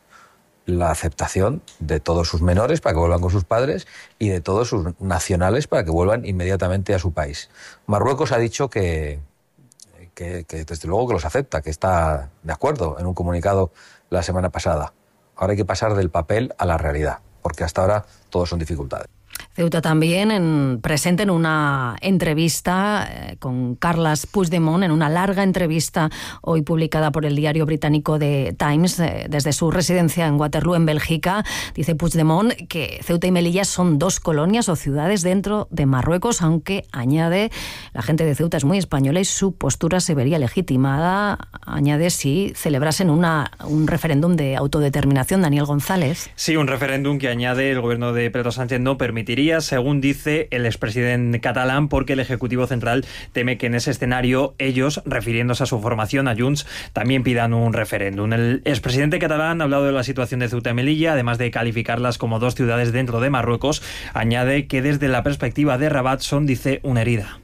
la aceptación de todos sus menores para que vuelvan con sus padres y de todos sus nacionales para que vuelvan inmediatamente a su país. Marruecos ha dicho que desde luego que los acepta, que está de acuerdo en un comunicado la semana pasada. Ahora hay que pasar del papel a la realidad, porque hasta ahora todos son dificultades. Ceuta también presente en una entrevista con Carles Puigdemont, en una larga entrevista hoy publicada por el diario británico The Times desde su residencia en Waterloo, en Bélgica. Dice Puigdemont que Ceuta y Melilla son dos colonias o ciudades dentro de Marruecos, aunque añade, la gente de Ceuta es muy española y su postura se vería legitimada, añade, si celebrasen un referéndum de autodeterminación. Daniel González. Sí, un referéndum que, añade, el gobierno de Pedro Sánchez no permitiría, según dice el expresidente catalán, porque el Ejecutivo Central teme que en ese escenario ellos, refiriéndose a su formación, a Junts, también pidan un referéndum. El expresidente catalán ha hablado de la situación de Ceuta y Melilla, además de calificarlas como dos ciudades dentro de Marruecos. Añade que desde la perspectiva de Rabat son, dice, una herida.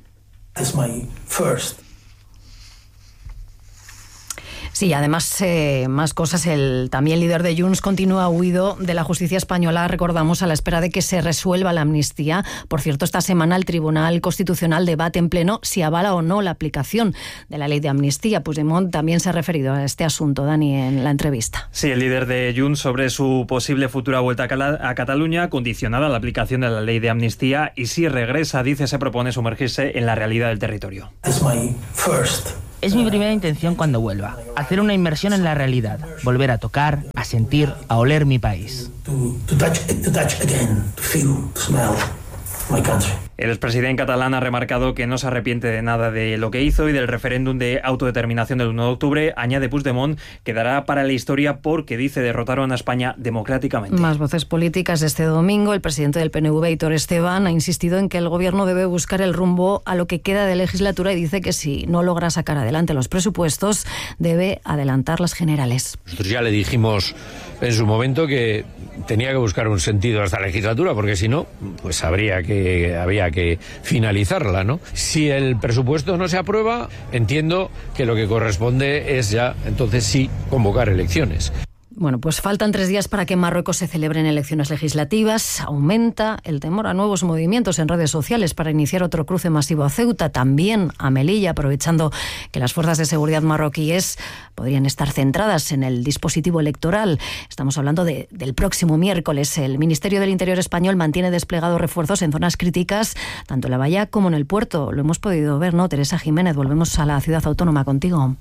Sí, además, más cosas. El también líder de Junts continúa huido de la justicia española, recordamos, a la espera de que se resuelva la amnistía. Por cierto, esta semana el Tribunal Constitucional debate en pleno si avala o no la aplicación de la ley de amnistía. Puigdemont también se ha referido a este asunto, Dani, en la entrevista. Sí, el líder de Junts sobre su posible futura vuelta a Cataluña, condicionada a la aplicación de la ley de amnistía, y si regresa, dice, se propone sumergirse en la realidad del territorio. Es mi primera intención cuando vuelva, hacer una inmersión en la realidad, volver a tocar, a sentir, a oler mi país. El expresidente catalán ha remarcado que no se arrepiente de nada de lo que hizo y del referéndum de autodeterminación del 1 de octubre. Añade Puigdemont que dará para la historia porque, dice, derrotaron a España democráticamente. Más voces políticas. Este domingo el presidente del PNV, Aitor Esteban, ha insistido en que el gobierno debe buscar el rumbo a lo que queda de legislatura y dice que si no logra sacar adelante los presupuestos debe adelantar las generales. Nosotros ya le dijimos en su momento que tenía que buscar un sentido a esta legislatura, porque si no, pues había que finalizarla, ¿no? Si el presupuesto no se aprueba, entiendo que lo que corresponde es ya, entonces sí, convocar elecciones. Bueno, pues faltan 3 días para que en Marruecos se celebren elecciones legislativas. Aumenta el temor a nuevos movimientos en redes sociales para iniciar otro cruce masivo a Ceuta, también a Melilla, aprovechando que las fuerzas de seguridad marroquíes podrían estar centradas en el dispositivo electoral. Estamos hablando del próximo miércoles. El Ministerio del Interior español mantiene desplegados refuerzos en zonas críticas, tanto en la bahía como en el puerto. Lo hemos podido ver, ¿no? Teresa Jiménez, volvemos a la ciudad autónoma contigo.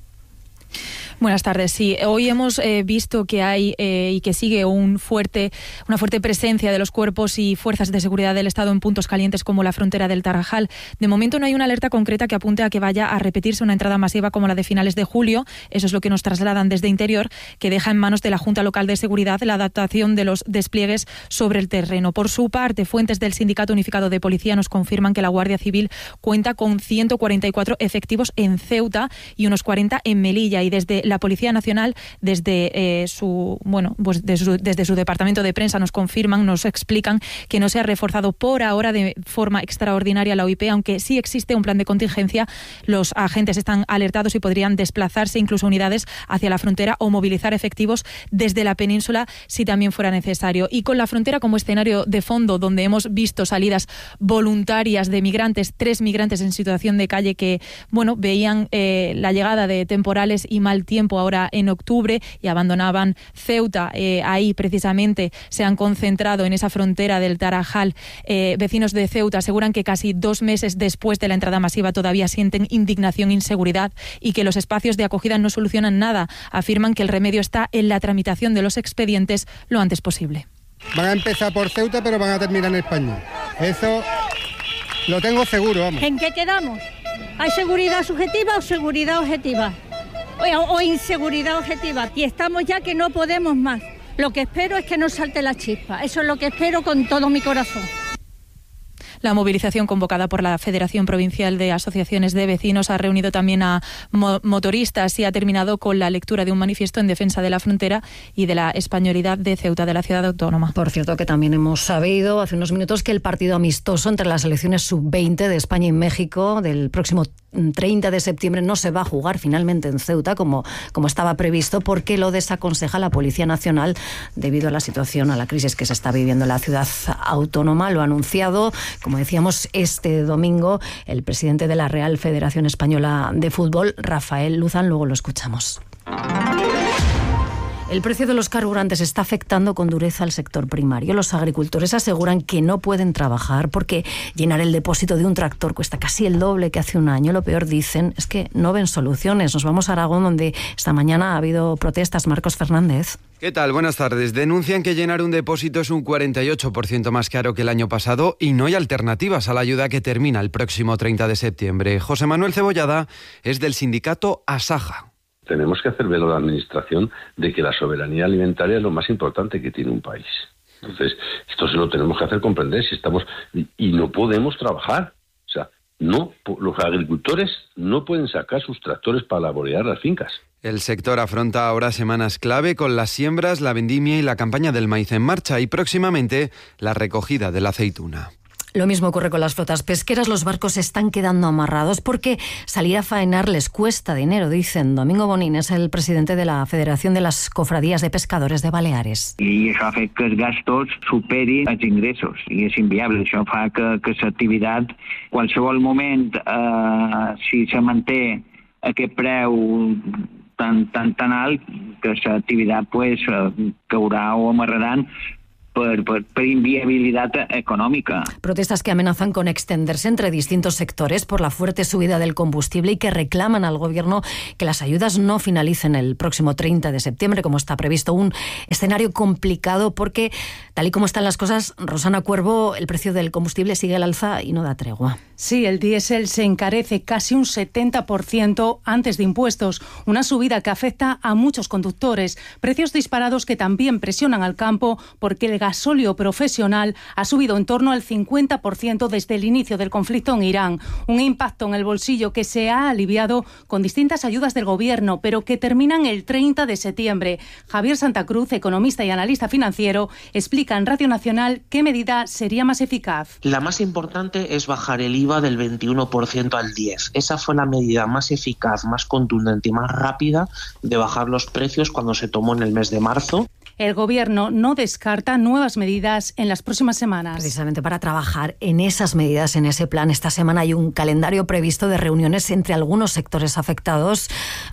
Buenas tardes. Sí, hoy hemos visto que hay y que sigue una fuerte presencia de los cuerpos y fuerzas de seguridad del Estado en puntos calientes como la frontera del Tarajal. De momento no hay una alerta concreta que apunte a que vaya a repetirse una entrada masiva como la de finales de julio. Eso es lo que nos trasladan desde Interior, que deja en manos de la Junta Local de Seguridad la adaptación de los despliegues sobre el terreno. Por su parte, fuentes del Sindicato Unificado de Policía nos confirman que la Guardia Civil cuenta con 144 efectivos en Ceuta y unos 40 en Melilla, y desde la Policía Nacional, desde su departamento de prensa, nos explican que no se ha reforzado por ahora de forma extraordinaria la OIP, aunque sí existe un plan de contingencia. Los agentes están alertados y podrían desplazarse incluso unidades hacia la frontera o movilizar efectivos desde la península si también fuera necesario. Y con la frontera como escenario de fondo, donde hemos visto salidas voluntarias de migrantes, 3 migrantes en situación de calle que veían la llegada de temporales y mal tiempo ahora en octubre y abandonaban Ceuta. Ahí precisamente se han concentrado en esa frontera del Tarajal. Vecinos de Ceuta aseguran que casi 2 meses después de la entrada masiva todavía sienten indignación e inseguridad y que los espacios de acogida no solucionan nada. Afirman que el remedio está en la tramitación de los expedientes lo antes posible. Van a empezar por Ceuta, pero van a terminar en España. Eso lo tengo seguro, vamos. ¿En qué quedamos? ¿Hay seguridad subjetiva o seguridad objetiva? O inseguridad objetiva. Y estamos ya que no podemos más. Lo que espero es que no salte la chispa. Eso es lo que espero con todo mi corazón. La movilización convocada por la Federación Provincial de Asociaciones de Vecinos ha reunido también a motoristas y ha terminado con la lectura de un manifiesto en defensa de la frontera y de la españolidad de Ceuta, de la ciudad autónoma. Por cierto, que también hemos sabido hace unos minutos que el partido amistoso entre las selecciones sub-20 de España y México del próximo 30 de septiembre no se va a jugar finalmente en Ceuta como estaba previsto, porque lo desaconseja la Policía Nacional debido a la situación, a la crisis que se está viviendo en la ciudad autónoma. Lo ha anunciado, como decíamos, este domingo el presidente de la Real Federación Española de Fútbol, Rafael Luzán. Luego lo escuchamos. El precio de los carburantes está afectando con dureza al sector primario. Los agricultores aseguran que no pueden trabajar porque llenar el depósito de un tractor cuesta casi el doble que hace un año. Lo peor, dicen, es que no ven soluciones. Nos vamos a Aragón, donde esta mañana ha habido protestas. Marcos Fernández. ¿Qué tal? Buenas tardes. Denuncian que llenar un depósito es un 48% más caro que el año pasado y no hay alternativas a la ayuda que termina el próximo 30 de septiembre. José Manuel Cebollada es del sindicato Asaja. Tenemos que hacer ver a la Administración de que la soberanía alimentaria es lo más importante que tiene un país. Entonces, esto se lo tenemos que hacer comprender si estamos y no podemos trabajar. O sea, no, los agricultores no pueden sacar sus tractores para laborear las fincas. El sector afronta ahora semanas clave con las siembras, la vendimia y la campaña del maíz en marcha y próximamente la recogida de la aceituna. Lo mismo ocurre con las flotas pesqueras. Los barcos se están quedando amarrados porque salir a faenar les cuesta dinero, dicen. Domingo Bonín es el presidente de la Federación de las Cofradías de Pescadores de Baleares. I això ha fet que els gastos superin els ingressos i és inviable. Això fa que l'activitat, qualsevol moment, si se manté aquest preu tan alt, que l'activitat caurà o amarraran por inviabilidad económica. Protestas que amenazan con extenderse entre distintos sectores por la fuerte subida del combustible y que reclaman al gobierno que las ayudas no finalicen el próximo 30 de septiembre, como está previsto. Un escenario complicado porque, tal y como están las cosas, Rosana Cuervo, el precio del combustible sigue al alza y no da tregua. Sí, el diésel se encarece casi un 70% antes de impuestos, una subida que afecta a muchos conductores, precios disparados que también presionan al campo porque el gasóleo profesional ha subido en torno al 50% desde el inicio del conflicto en Irán. Un impacto en el bolsillo que se ha aliviado con distintas ayudas del gobierno, pero que terminan el 30 de septiembre. Javier Santa Cruz, economista y analista financiero, explica en Radio Nacional qué medida sería más eficaz. La más importante es bajar el IVA del 21% al 10%. Esa fue la medida más eficaz, más contundente y más rápida de bajar los precios cuando se tomó en el mes de marzo. El Gobierno no descarta nuevas medidas en las próximas semanas. Precisamente para trabajar en esas medidas, en ese plan, esta semana hay un calendario previsto de reuniones entre algunos sectores afectados,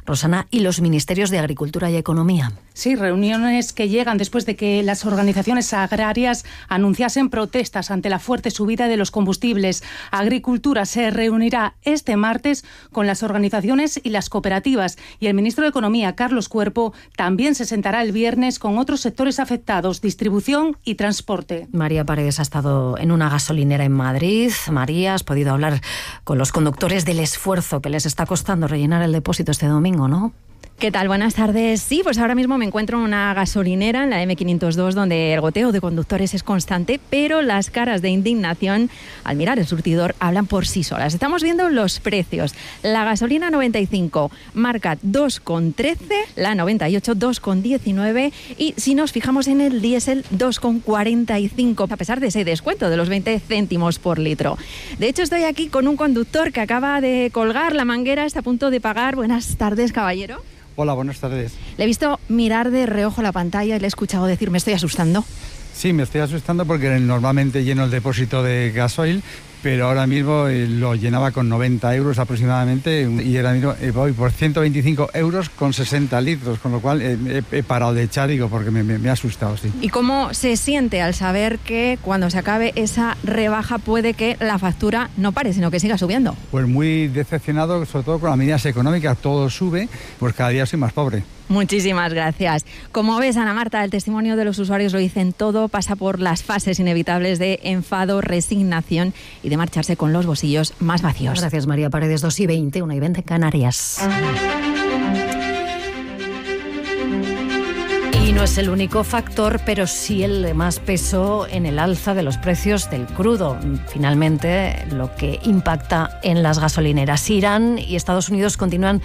Rosana, y los ministerios de Agricultura y Economía. Sí, reuniones que llegan después de que las organizaciones agrarias anunciasen protestas ante la fuerte subida de los combustibles. Agricultura se reunirá este martes con las organizaciones y las cooperativas, y el ministro de Economía, Carlos Cuerpo, también se sentará el viernes con otros sectores afectados, distribución y transporte. María Paredes ha estado en una gasolinera en Madrid. María, has podido hablar con los conductores del esfuerzo que les está costando rellenar el depósito este domingo, ¿no? ¿Qué tal? Buenas tardes. Sí, pues ahora mismo me encuentro en una gasolinera, en la M502, donde el goteo de conductores es constante, pero las caras de indignación al mirar el surtidor hablan por sí solas. Estamos viendo los precios. La gasolina 95 marca 2,13, la 98 2,19 y si nos fijamos en el diésel 2,45, a pesar de ese descuento de los 20 céntimos por litro. De hecho, estoy aquí con un conductor que acaba de colgar la manguera, está a punto de pagar. Buenas tardes, caballero. Hola, buenas tardes. Le he visto mirar de reojo la pantalla y le he escuchado decir, ¿me estoy asustando? Sí, me estoy asustando porque normalmente lleno el depósito de gasoil, pero ahora mismo lo llenaba con 90 euros aproximadamente y ahora mismo voy por 125 euros con 60 litros, con lo cual he parado de echar, digo, porque me ha asustado, sí. ¿Y cómo se siente al saber que cuando se acabe esa rebaja puede que la factura no pare, sino que siga subiendo? Pues muy decepcionado, sobre todo con las medidas económicas, todo sube, pues cada día soy más pobre. Muchísimas gracias. Como ves, Ana Marta, el testimonio de los usuarios lo dicen todo, pasa por las fases inevitables de enfado, resignación y de marcharse con los bolsillos más vacíos. Gracias, María Paredes. 2:20, 1:20 en Canarias. Y no es el único factor, pero sí el de más peso en el alza de los precios del crudo. Finalmente, lo que impacta en las gasolineras. Irán y Estados Unidos continúan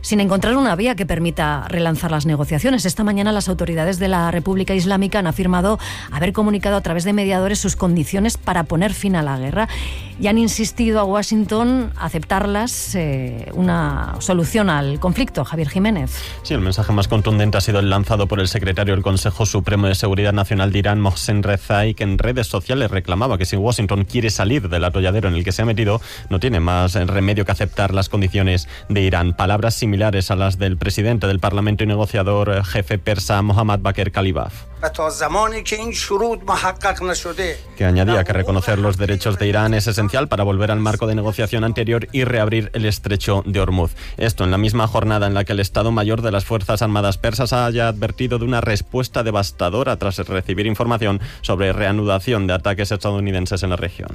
sin encontrar una vía que permita relanzar las negociaciones. Esta mañana las autoridades de la República Islámica han afirmado haber comunicado a través de mediadores sus condiciones para poner fin a la guerra y han insistido a Washington aceptarlas, una solución al conflicto. Javier Jiménez. Sí, el mensaje más contundente ha sido el lanzado por el secretario del Consejo Supremo de Seguridad Nacional de Irán, Mohsen Rezai, que en redes sociales reclamaba que si Washington quiere salir del atolladero en el que se ha metido, no tiene más remedio que aceptar las condiciones de Irán. Palabras similares a las del presidente del Parlamento y negociador jefe persa Mohammad Bakr Kalibaf, que añadía que reconocer los derechos de Irán es esencial para volver al marco de negociación anterior y reabrir el estrecho de Hormuz. Esto en la misma jornada en la que el Estado Mayor de las Fuerzas Armadas persas haya advertido de una respuesta devastadora tras recibir información sobre reanudación de ataques estadounidenses en la región.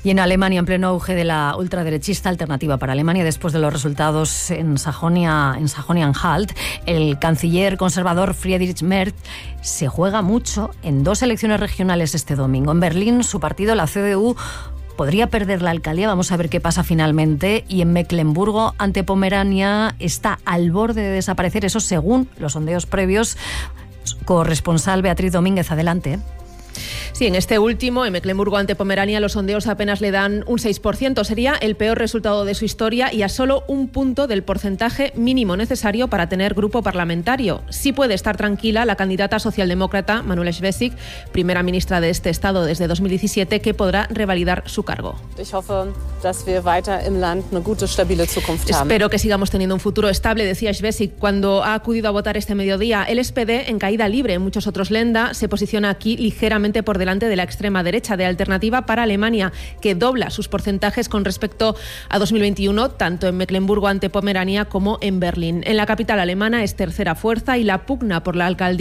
Y en Alemania, en pleno auge de la ultraderechista Alternativa para Alemania, después de los resultados en Sajonia-Anhalt, el canciller conservador Friedrich Merz se juega mucho en 2 elecciones regionales este domingo. En Berlín, su partido, la CDU, podría perder la alcaldía, vamos a ver qué pasa finalmente, y en Mecklemburgo, ante Pomerania, está al borde de desaparecer, eso según los sondeos previos. Corresponsal Beatriz Domínguez, adelante. Sí, en este último, en Mecklemburgo ante Pomerania, los sondeos apenas le dan un 6%. Sería el peor resultado de su historia y a solo un punto del porcentaje mínimo necesario para tener grupo parlamentario. Sí puede estar tranquila la candidata socialdemócrata Manuela Schwesig, primera ministra de este estado desde 2017, que podrá revalidar su cargo. Espero que sigamos teniendo un futuro estable, decía Schwesig cuando ha acudido a votar este mediodía. El SPD, en caída libre en muchos otros Länder, se posiciona aquí ligeramente por delante de la extrema derecha de Alternativa para Alemania, que dobla sus porcentajes con respecto a 2021, tanto en Mecklemburgo ante Pomerania como en Berlín. En la capital alemana es tercera fuerza y la pugna por la alcaldía